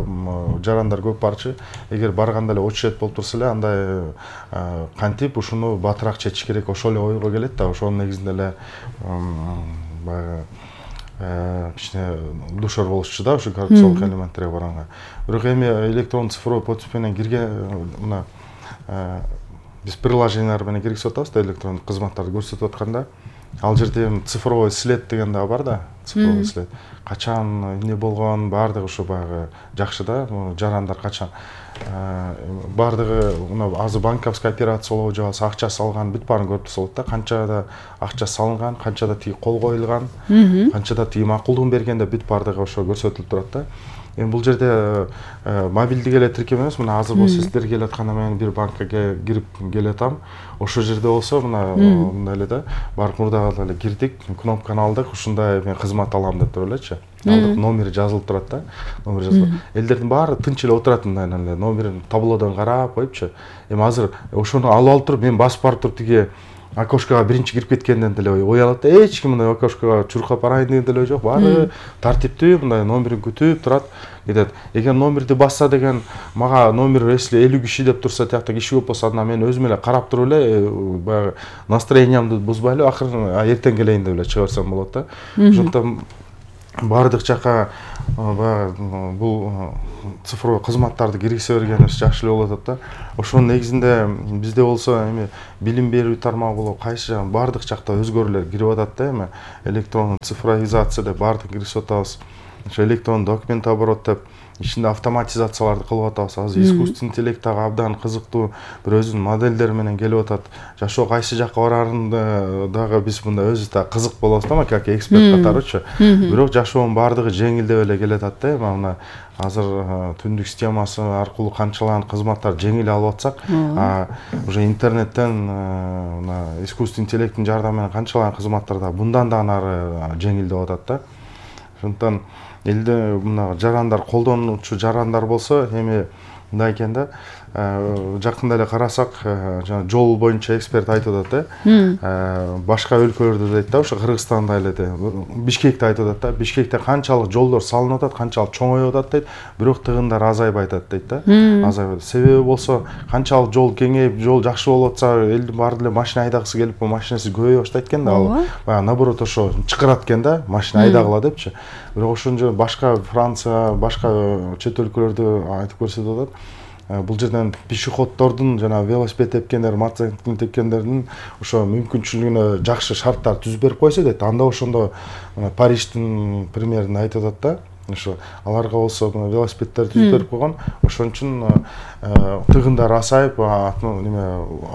K: жарандар көп барчы, эгер барганда эле очередь болуп турса эле андай кантип ушуну батыраак чечиш керек, ошол эле ойго келет да. Ошонун негизинде эле баягы кичине душар болушчу да ушу коррупциялык элементтерге барганга. Бирок эми электрондук цифровой подпись менен кирген мына биз приложениялар менен киргизип атабыз да, электрондук кызматтарды көрсөтүп атканда, ал жерде цифровой след деген да бар да, цифровой след. Качан эмне болгон, баардыгы ушу баягы жакшы да, жарандар качан баардыгы мына азыр банковский операция болобу же болбосо акча салган бүт баарын көрүп турса болот да, канчада акча салынган, канчада тиги кол коюлган, канчада тиги макулдугун бергенде бүт баардыгы ошо көрсөтүлүп турат да. Эми бул жерде мобилдик эле тиркем эмес, мына азыр болсо сиздер келип атканда мен бир банкка кирип келатам. Ошол жерде болсо мына эле да, барып мурдагы эле кирдик, кнопканы алдык, ушундай мен кызмат алам деп туруп элечи. Алдык, номери жазылып турат да. Номер жазылып. Элдердин баары тынч эле отурат мындай эле, номерин таблодон карап коюпчу. Эми азыр ошону алып туруп мен басып барып туруп тиги окошкага биринчи кирип кеткенден деле уялат да, эч ким мындай окошкага чуркап барайын деген деле ой жок. Баары тартиптүү мындай номерин күтүп турат. Кетет. Эгер номерди басса деген, мага номер если 50 киши деп турса, тиякта киши көп болсо, анда мен өзүм эле карап туруп эле баягы настроениямды бузбай эле акырын эртең келейин деп эле чыга берсем болот да. Ошондон баардык жака баягы бул цифровой кызматтарды киргизе бергенибиз жакшы эле болуп атат да. Ошонун негизинде бизде болсо эми билим берүү тармагы болобу, кайсы жагы баардык жакта өзгөрүүлөр кирип атат да. Эми электрондук цифровизация деп баардык киргизип атабыз. Ошо электрондук документ оборот деп ичинде автоматизацияларды кылып атабыз. Азыр искусственный интеллект дагы абдан кызыктуу бир өзүнүн модельдери менен келип атат. Жашоо кайсы жакка барарын дагы биз мында өзүбүз да кызык болобуз да, как эксперт катарычы. Бирок жашоонун баардыгы жеңилдеп эле келатат да. Мына азыр түндүк системасы аркылуу канчалаган кызматтар жеңил алып атсак, уже интернеттен мына искусственный интеллекттин жардамы менен канчалаган кызматтар да мындан да нары жеңилдеп атат да. Ошондон элде мына жарандар, колдонуучу жарандар болсо эми мындай экен да, жакында эле карасак, жана жол боюнча эксперт айтып атат да, башка өлкөлөрдө дейт да, ошо Кыргызстанда эле Бишкекте айтып атат да, Бишкекте канчалык жолдор салынып атат, канчалык чоңоюп атат дейт, бирок тыгындар азайбай атат дейт да. Азайбайт. Себеби болсо канчалык жол кеңейип, жол жакшы болуп атса, элдин баары эле машина айдагысы келип, машинасы көбөйө баштайт экен да, ал баягы наоборот ошо чакырат экен да, машина айдагыла депчи. Бирок ошондо башка Франция, башка чет өлкөлөрдө айтып көрсөтүп атат. Бул жерден пешеходдордун жана велосипед тепкендер, мотоцикл тепкендердин ошо мүмкүнчүлүгүнө жакшы шарттар түзүп берип койсо дейт. Анда ошондо Париждин примерин айтып атат да. Ошо аларга болсо велосипеддер түзүп берип койгон. Ошон үчүн тыгындар азайып, неме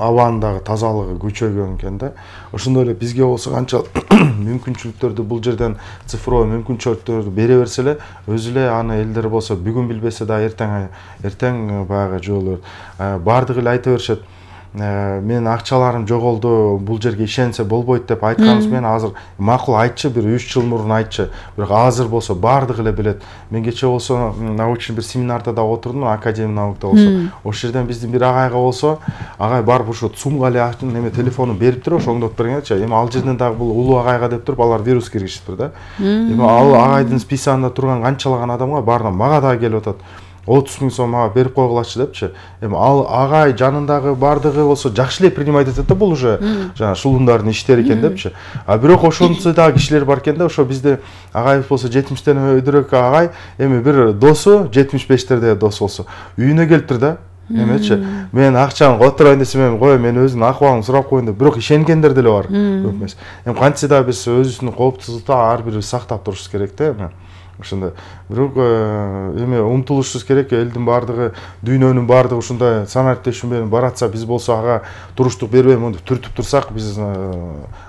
K: абанын дагы тазалыгы күчөйгөн экен да. Ошондой эле бизге болсо канча мүмкүнчүлүктөрдү бул жерден цифровой мүмкүнчүлүктөрдү бере берсе эле, өзү эле аны элдер болсо бүгүн билбесе да эртең баягы жолу баардыгы эле айта беришет. Мен акчаларым жоголду, бул жерге ишенсе болбойт деп айтканыбыз менен азыр макул айтчы, бир 3 жыл мурун айтчы. Бирок азыр болсо баардыгы эле билет. Мен кече болсо научный бир семинарда да отурдум, Академия наукада болсо. Ошол жерден биздин бир агайга болсо, агай барып ошо сумга эле неме телефонун берип туруп, оңдоп бергенчи. Эми ал жерден дагы бул улуу агайга деп туруп, алар вирус киргизиптир да. Эми ал агайдын списагында турган канчалаган адамга баарына мага дагы келип атат. 30 000 сом мага берип койгулачы депчи. Эми ал агай жанындагы баардыгы болсо жакшы эле принимать этет да, бул уже жана шулундардын иштери экен депчи. А бирок ошонусу дагы кишилер бар экен да, ошо бизде агайыбыз болсо 70-тен өйдөрөөк агай, эми бир досу 75-терде дос болсо үйүнө келиптир да. Эмечи, мен акчаны которойн десем, кой мен өзүнүн акыбалын сурап коеюн деп, бирок ишенгендер деле бар. Көп эмес. Эми кантсе да биз өзүбүздүн коопсуздукту ар бирибиз сактап турушубуз керек да. Ошондой бирок эми умтулушубуз керек, элдин баардыгы, дүйнөнүн баардыгы ушундай санариптешүү менен баратса, биз болсо ага туруштук бербей мынтип түртүп турсак, биз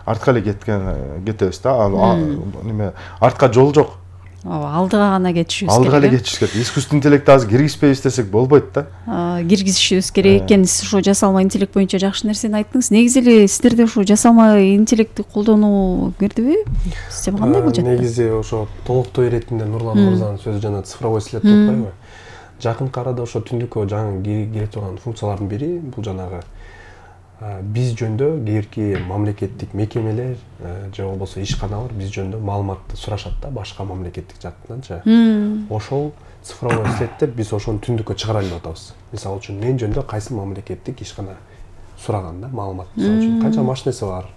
K: артка эле кетебиз да. Неме артка жол жок.
I: Алдыга гана кетишибиз керек.
K: Алдыга эле кетишибиз керек. Искусственный интеллектти азыр киргизбейбиз десек болбойт да.
I: Киргизишибиз керек экен. Сиз ошо жасалма интеллект боюнча жакшы нерсени айттыңыз. Негизи эле сиздерде ошо жасалма интеллектти колдонуу кирдиби? Система кандай болуп жатты?
J: Негизи ошо толуктой иретинде Нурлан мырзанын сөзү жана цифровой след деп атпайбы? Жакынкы арада ошо түндүккө жаңы кире турган функциялардын бири бул жанагы биз жөнүндө кээ бирки мамлекеттик мекемелер же болбосо ишканалар биз жөнүндө маалыматты сурашат да башка мамлекеттик жактанчы. Ошол цифровой след биз ошону түндүккө чыгаралы деп атабыз. Мисалы үчүн мен жөнүндө кайсы мамлекеттик ишкана сураган да маалымат. Мисалы үчүн канча машинеси бар,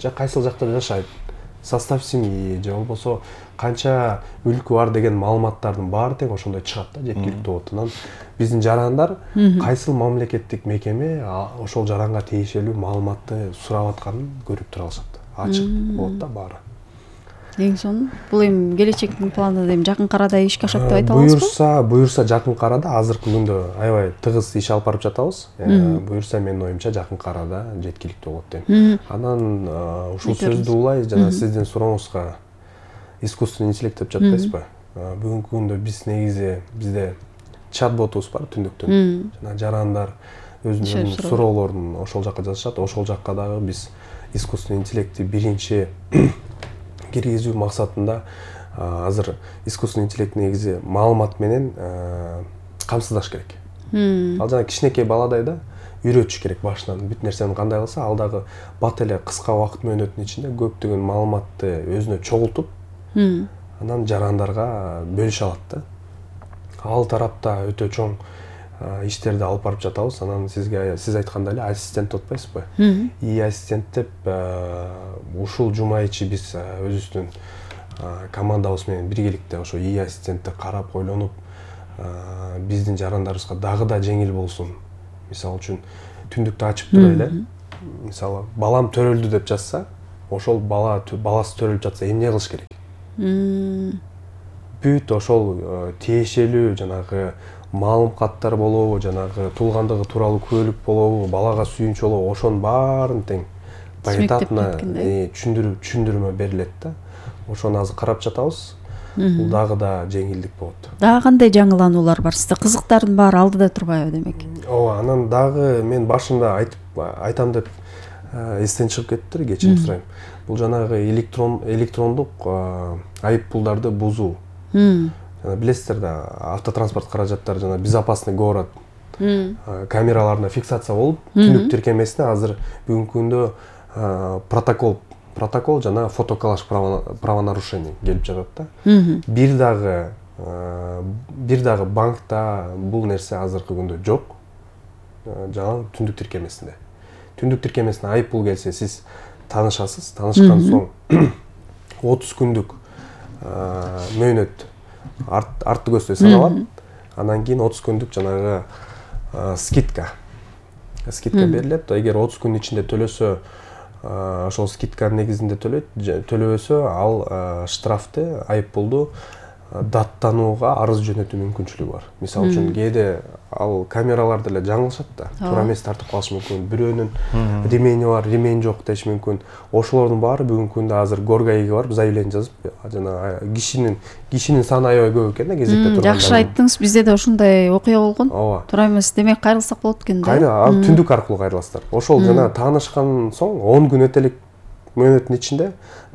J: же кайсыл жакта жашайт, состав семьи же болбосо канча мүлкү бар деген маалыматтардын баары тең ошондой чыгат да, жеткиликтүү болот. Анан биздин жарандар кайсыл мамлекеттик мекеме ошол жаранга тиешелүү маалыматты сурап атканын көрүп тура алышат. Ачык болот да баары.
I: Эң сонун бул эми келечектин планында эми жакын арада ишке ашат деп айта аласызбы?
J: Буюрса жакын арада азыркы күндө аябай тыгыз иш алып барып жатабыз. Буюрса менин оюмча жакын арада жеткиликтүү болот дейм. Анан ушул сөздү улай жана сиздин сурооңузга искусственный интеллект деп жатпайсызбы? Бүгүнкү күндө биз негизи бизде чат-ботубуз бар түндүктөн. Жана жарандар өзүнүн суроолорун ошол жакка жазышат. Ошол жакка дагы биз искусственный интеллектти биринчи киргизүү максатында азыр искусственный интеллект негизи маалымат менен камсыздаш керек. Ал жана кичинекей баладай да үйрөтүш керек башынан. Бүт нерсени кандай кылса, ал дагы бат эле кыска убакыт мөөнөтүнүн ичинде көптөгөн маалыматты өзүнө чогултуп, анан жарандарга бөлүшө алат да. Ал тарапта өтө чоң иштерди алып барып жатабыз. Анан сиз айткандай эле ассистент деп атпайсызбы? И ассистент деп ушул жума ичи биз өзүбүздүн командабыз менен биргеликте ошо и ассистентти карап ойлонуп, биздин жарандарыбызга дагы да жеңил болсун. Мисалы үчүн түндүктү ачып тура эле, мисалы балам төрөлдү деп жазса, ошол баласы төрөлүп жатса эмне кылыш керек? Бүт ошол тиешелүү жанагы маалым каттар болобу, жанагы туулгандыгы тууралуу күбөлүк болобу, балага сүйүнүч болобу, ошонун баарын тең поэтапно түшүндүрмө берилет да. Ошону азыр карап жатабыз. Бул дагы да жеңилдик болот.
I: Дагы кандай жаңылануулар бар? Сизде кызыктардын баары алдыда турбайбы демек?
J: Ооба, анан дагы мен башында айтам деп эстен чыгып кеттир, кечирим сурайм. Бул жанагы электрондук айып пулдарды бузуу. Билесиздер да, автотранспорт каражаттары жана безопасный город камераларына фиксация болуп, түндүк тиркемесине азыр бүгүнкү күндө протокол жана фотоколлаж правонарушений келип жатат да. Бир дагы банкта бул нерсе азыркы күндө жок. Жана түндүк тиркемесинде. Түндүк тиркемесине айып пул келсе, сиз таанышасыз. Таанышкан соң 30 күндүк мөөнөт артты көздөй саналат. Анан кийин 30 күндүк жанагы скидка берилет. Эгер 30 күн ичинде төлөсө, ошол скидканын негизинде төлөйт. Төлөбөсө, ал штрафты, айып пулду даттанууга арыз жөнөтүү мүмкүнчүлүгү бар. Мисалы үчүн кээде ал камераларды эле жаңылышат да, туура эмес тартып калышы мүмкүн. Бирөөнүн ремени бар, ремень жок деш мүмкүн. Ошолордун баары бүгүнкү күндө азыр горгайга барып заявление жазып, жана кишинин саны аябай көп экен да кезекте турган.
I: Жакшы айттыңыз, бизде да ушундай окуя болгон. Туура эмес, демек кайрылсак болот экен да.
J: Ал түндүк аркылуу кайрыласыздар. Ошол жана таанышкан соң 10 күн өтө элек мөөнөттүн ичинде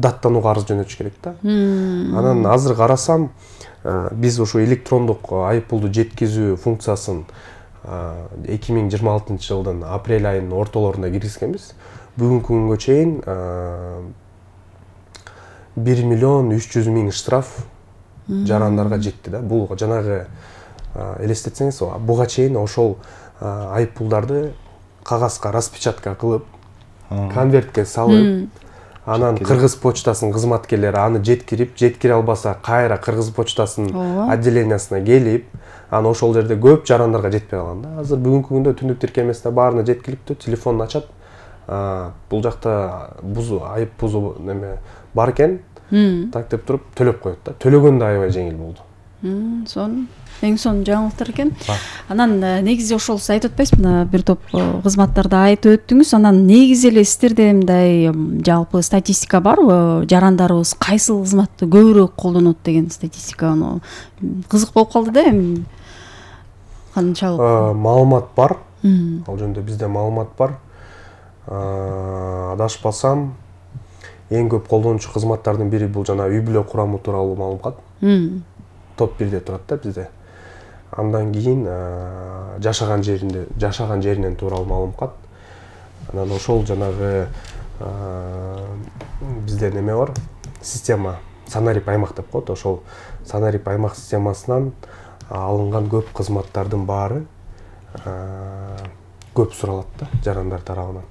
J: даттанууга арыз жөнөтүш керек да. Анан азыр карасам, биз ушу электрондук айып пулду жеткизүү функциясын 2026 жылдын апрель айынын ортолорунда киргизгенбиз. Бүгүнкү күнгө чейин 1 миллион 300 миң штраф жарандарга жетти да. Бул жанагы элестетсеңиз, буга чейин ошол айып пулдарды кагазга распечатка кылып, конвертке салып, анан Кыргыз почтасынын кызматкерлери аны жеткире албаса, кайра Кыргыз почтасынын отделениясына келип, анан ошол жерде көп жарандарга жетпей калган да. Азыр бүгүнкү күндө түндүк тиркемесине баарына жеткиликтүү, телефонун ачат. Бул жакта айып бузуу неме бар экен, так деп туруп төлөп коет да. Төлөгөн да аябай жеңил болду.
I: Сонун. Эң сонун жаңылыктар экен. Анан негизи ошол сиз айтып атпайсызбы, бир топ кызматтарды айтып өттүңүз. Анан негизи эле сиздерде мындай жалпы статистика барбы? Жарандарыбыз кайсыл кызматты көбүрөөк колдонот деген статистика, аны кызык болуп калды да эми. Канчалык?
J: Маалымат бар. Ал жөнүндө бизде маалымат бар. Адашпасам, эң көп колдонуучу кызматтардын бири бул жана үй бүлө курамы тууралуу маалымат. Топ 1-де турат да бизде. Андан кийин жашаган жеринен тууралуу маалымат. Анан ошол жанагы бизде неме бар, система санарип аймак деп коет. Ошол санарип аймак системасынан алынган көп кызматтардын баары көп суралат да жарандар тарабынан.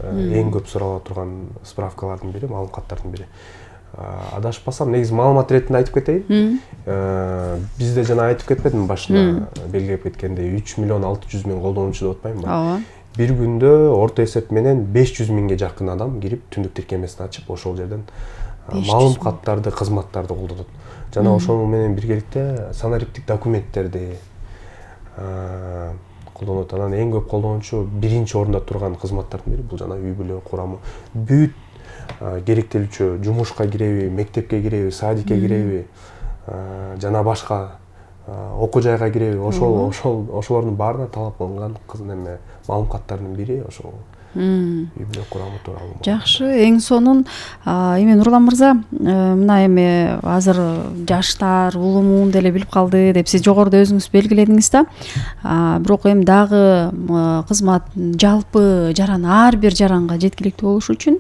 J: Эң көп сурала турган справкалардын бири, маалым каттардын бири. Адашпасам, негизи маалымат иретинде айтып кетейин. Бизде жана айтып кетпедимби башында белгилеп кеткендей 3 миллион 600 миң колдонуучу деп атпаймынбы?
I: Ооба.
J: Бир күндө орто эсеп менен 500 миңге жакын адам кирип түндүк тиркемесин ачып, ошол жерден маалым каттарды, кызматтарды колдонот. Жана ошол менен биргеликте санариптик документтерди колдонот. Анан эң көп колдонуучу биринчи орунда турган кызматтардын бири бул жана үй бүлө курамы. Бүт керектелүүчү жумушка киреби, мектепке киреби, садикке киреби, жана башка окуу жайга киреби, ошолордун баарына талап кылынган неме маалым каттардын бири ошол үй бүлө курамы тууралуу.
I: Жакшы, эң сонун эми Нурлан мырза, мына эми азыр жаштар улумун деле билип калды деп сиз жогоруда өзүңүз белгиледиңиз да. Бирок эми дагы кызмат жалпы жаран ар бир жаранга жеткиликтүү болуш үчүн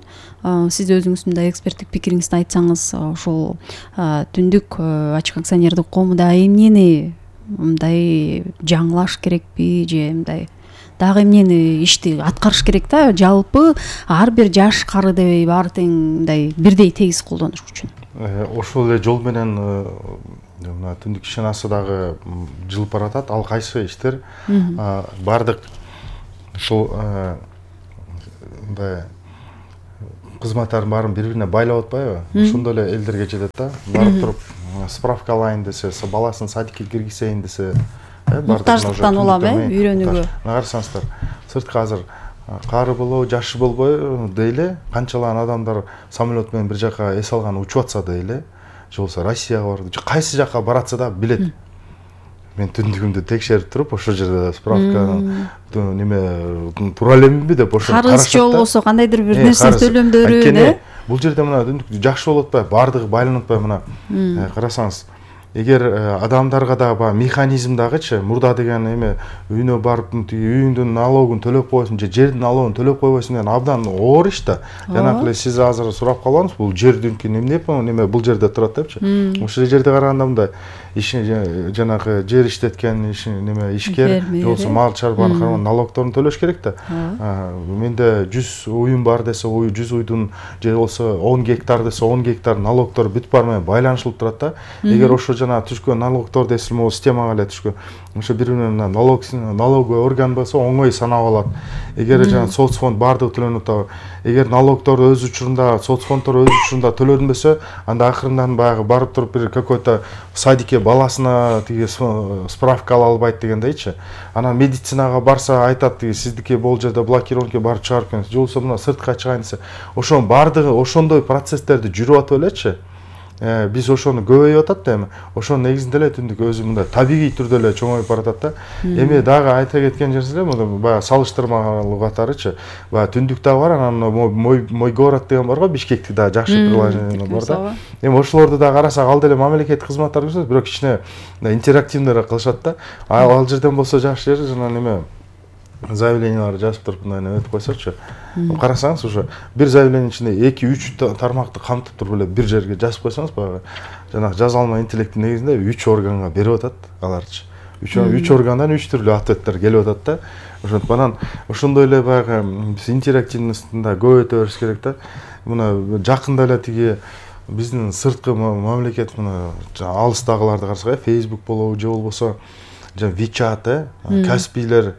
I: сиз өзүңүз мындай эксперттик пикириңизди айтсаңыз, ошол түндүк ачык акционердик коомдо эмнени мындай жаңылаш керекпи же мындай дагы эмнени ишти аткарыш керек да, жалпы ар бир жаш кары дебей баары тең мындай бирдей тегиз колдонуш үчүн?
K: Ошол эле жол менен мына түндүк ишенасы дагы жылып баратат. Ал кайсы иштер? Бардык ушул мындай кызматтардын баарын бири-бирине байлап атпайбы? Ошондой эле элдерге жетет да. Барып туруп справка алайын десе, баласын садикке киргизейин десе,
I: муктаждыктан улам, үйрөнүүгө.
K: Карасаңыздар, сыртка азыр кары болобу, жашы болбой дейле, канчалаган адамдар самолет менен бир жака эс алган учуп атса дейле, же болбосо Россияга барып, кайсы жака баратса да билет. Мен түндүгүмдү текшерип туруп, ошол жерде справка неме туура элемби деп ошо карашат.
I: Карыз же болбосо кандайдыр бир нерсе төлөмдөрүн,
K: бул жерде мына түндүк жакшы болуп атпайбы, баардыгы байланып атпайбы мына. Карасаңыз, эгер адамдарга да баягы механизм дагычы, мурда деген эме үйүнө барып үйүңдүн налогун төлөп койсуң же жердин налогун төлөп койбойсуң деген абдан оор иш да. Жанагы эле сиз азыр сурап калбаңыз, бул жердинки неме бул жерде турат депчи. Ошол жерде караганда мындай ишин жанагы жер иштеткен неме ишкер же болбосо мал чарбаны карман налогторун төлөш керек да. Менде 100 уюм бар десе, 100 уйдун же болбосо 10 гектар десе 10 гектар налогтор бүт баар менен байланышылып турат да. Эгер ошо жана түшкөн налогтор десе, могу системага эле түшкөн. Ошо бири-бирине налоговый орган болсо оңой санап алат. Эгер жана соцфонд баардыгы төлөнүп атабы. Эгер налогтор өз учурунда, соцфонддор өз учурунда төлөнбөсө, анда акырындан баягы барып туруп бир какой-то садикке баласына тиги справка ала албайт дегендейчи. Анан медицинага барса айтат, тиги сиздики бул жерде блокировка барып чыгарып келиңиз. Же болбосо мына сыртка чыгайын десе, ошонун баардыгы ошондой процесстерди жүрүп атып элечи. Биз ошону көбөйүп атат да эми. Ошонун негизинде эле түндүк өзү мындай табигый түрдө эле чоңоюп баратат да. Эми дагы айта кеткен жерибиз эле, баягы салыштырмалуу катарычы. Баягы түндүк да бар, анан мой город деген бар го, Бишкектик да жакшы приложение бар да. Эми ошолорду да карасак, ал деле мамлекеттик кызматтар көрсөтөт, бирок кичине интерактивныйраак кылышат да. Ал жерден болсо жакшы жер жана неме заявленияларды жазып туруп мындай өтүп койсочу. Карасаңыз, уже бир заявлениянын ичинде 2-3 тармакты камтып туруп эле бир жерге жазып койсоңуз, баягы жанагы жазалма интеллекттин негизинде 3 органга берип атат аларчы. 3 органдан 3 түрлүү ответтер келип атат да. Ошентип анан ошондой эле баягы биз интерактивностун да көбөйтө бериш керек да. Мына жакында эле тиги биздин сырткы мамлекет мына алыстагыларды карасак, Facebook болобу же болбосо WeChat, Каспийлер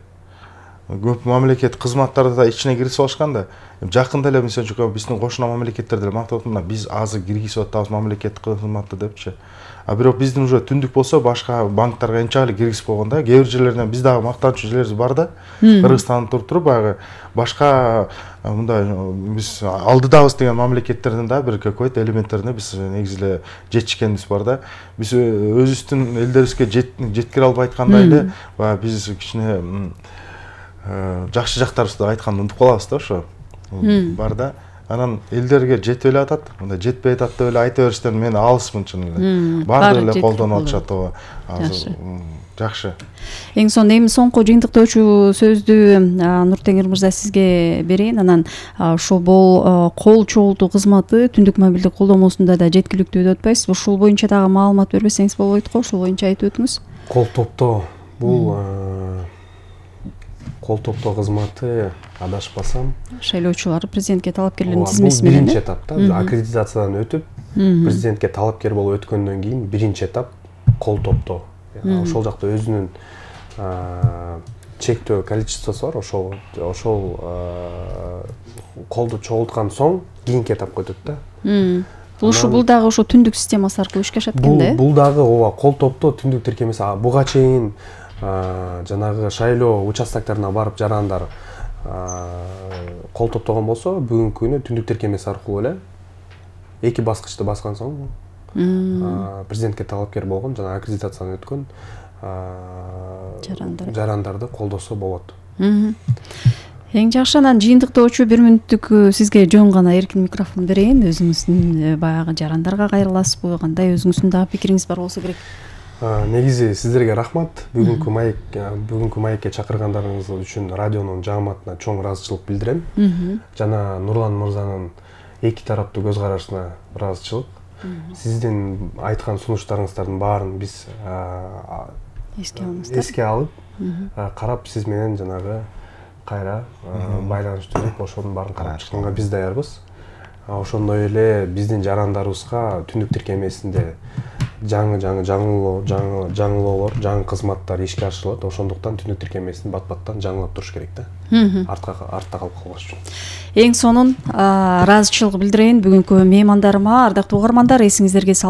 K: көп мамлекет кызматтарды да ичине киргизип алышкан да. Жакында эле мисалы үчүн биздин кошуна мамлекеттерде мактап атат, биз азыр киргизип атабыз мамлекеттик кызматты депчи. Бирок биздин уже түндүк болсо башка банктарга энче эле киргизип койгон да. Кээ бир жерлерден биз дагы мактанычуу жерлерибиз бар да. Кыргызстанда туруп баягы башка мындай биз алдыдабыз деген мамлекеттерден да бир какой-то элементтерине биз негизи эле жетишкенибиз бар да. Биз өзүбүздүн элдерибизге жеткире албай аткандай эле баягы биз кичине жакшы жактарыбызды айтканды унутуп калабыз да ошо. Бар да. анан элдерге жетип эле атат, мындай жетпей атат деп эле айта бериштен мен алысмын чын эле. Баардыгы эле колдонуп атышат ооба. Азыр жакшы.
I: Эң сонун эми соңку жыйынтыктоочу сөздү Нуртеңир мырза сизге берейин. Анан ушул кол чогултуу кызматы түндүк мобилдик колдомосунда да жеткиликтүү деп атпайсызбы? Ушул боюнча дагы маалымат бербесеңиз болбойт го, ушул боюнча айтып өтүңүз.
J: Кол топтоо бул кол топтоо кызматы адашпасам
I: шайлоочулар президентке талапкерлердин тизмеси менен.
J: Биринчи этапта аккредитациядан өтүп, президентке талапкер болуп өткөндөн кийин биринчи этап кол топтоо. Ошол жакта өзүнүн чектөө количествосу бар. Ошол колду чогулткан соң кийинки этапка өтөт да.
I: Бул дагы ошо түндүк системасы аркылуу ишке ашат экен да?
J: Бул дагы ооба кол топтоо түндүк тиркемеси. Буга чейин жанагы шайлоо участокторуна барып жарандар кол топтогон болсо, бүгүнкү күнү түндүк тиркемеси аркылуу эле 2 баскычты баскан соң президентке талапкер болгон жана аккредитациядан өткөн жарандарды колдосо болот.
I: Эң жакшы, анан жыйынтыктоочу 1 мүнөттүк сизге жөн гана эркин микрофон берейин. Өзүңүздүн баягы жарандарга кайрыласызбы? Кандай өзүңүздүн дагы пикириңиз бар болсо керек.
J: Негизи сиздерге рахмат. Бүгүнкү маекке чакыргандарыңыз үчүн радионун жааматына чоң ыраазычылык билдирем. Жана Нурлан мырзанын эки тараптуу көз карашына ыраазычылык. Сиздин айткан сунуштарыңыздардын баарын биз эске алып, карап сиз менен жанагы кайра байланыш түзүп, ошонун баарын карап чыкканга биз даярбыз. Ошондой эле биздин жарандарыбызга түндүк тиркемесинде жаңы кызматтар ишке ашырылат. Ошондуктан түндүк тиркемесин бат-баттан жаңылап туруш керек да. Артта калып калбаш үчүн.
I: Эң сонун ыраазычылык билдирейин бүгүнкү меймандарыма. Ардактуу угармандар, эсиңиздерге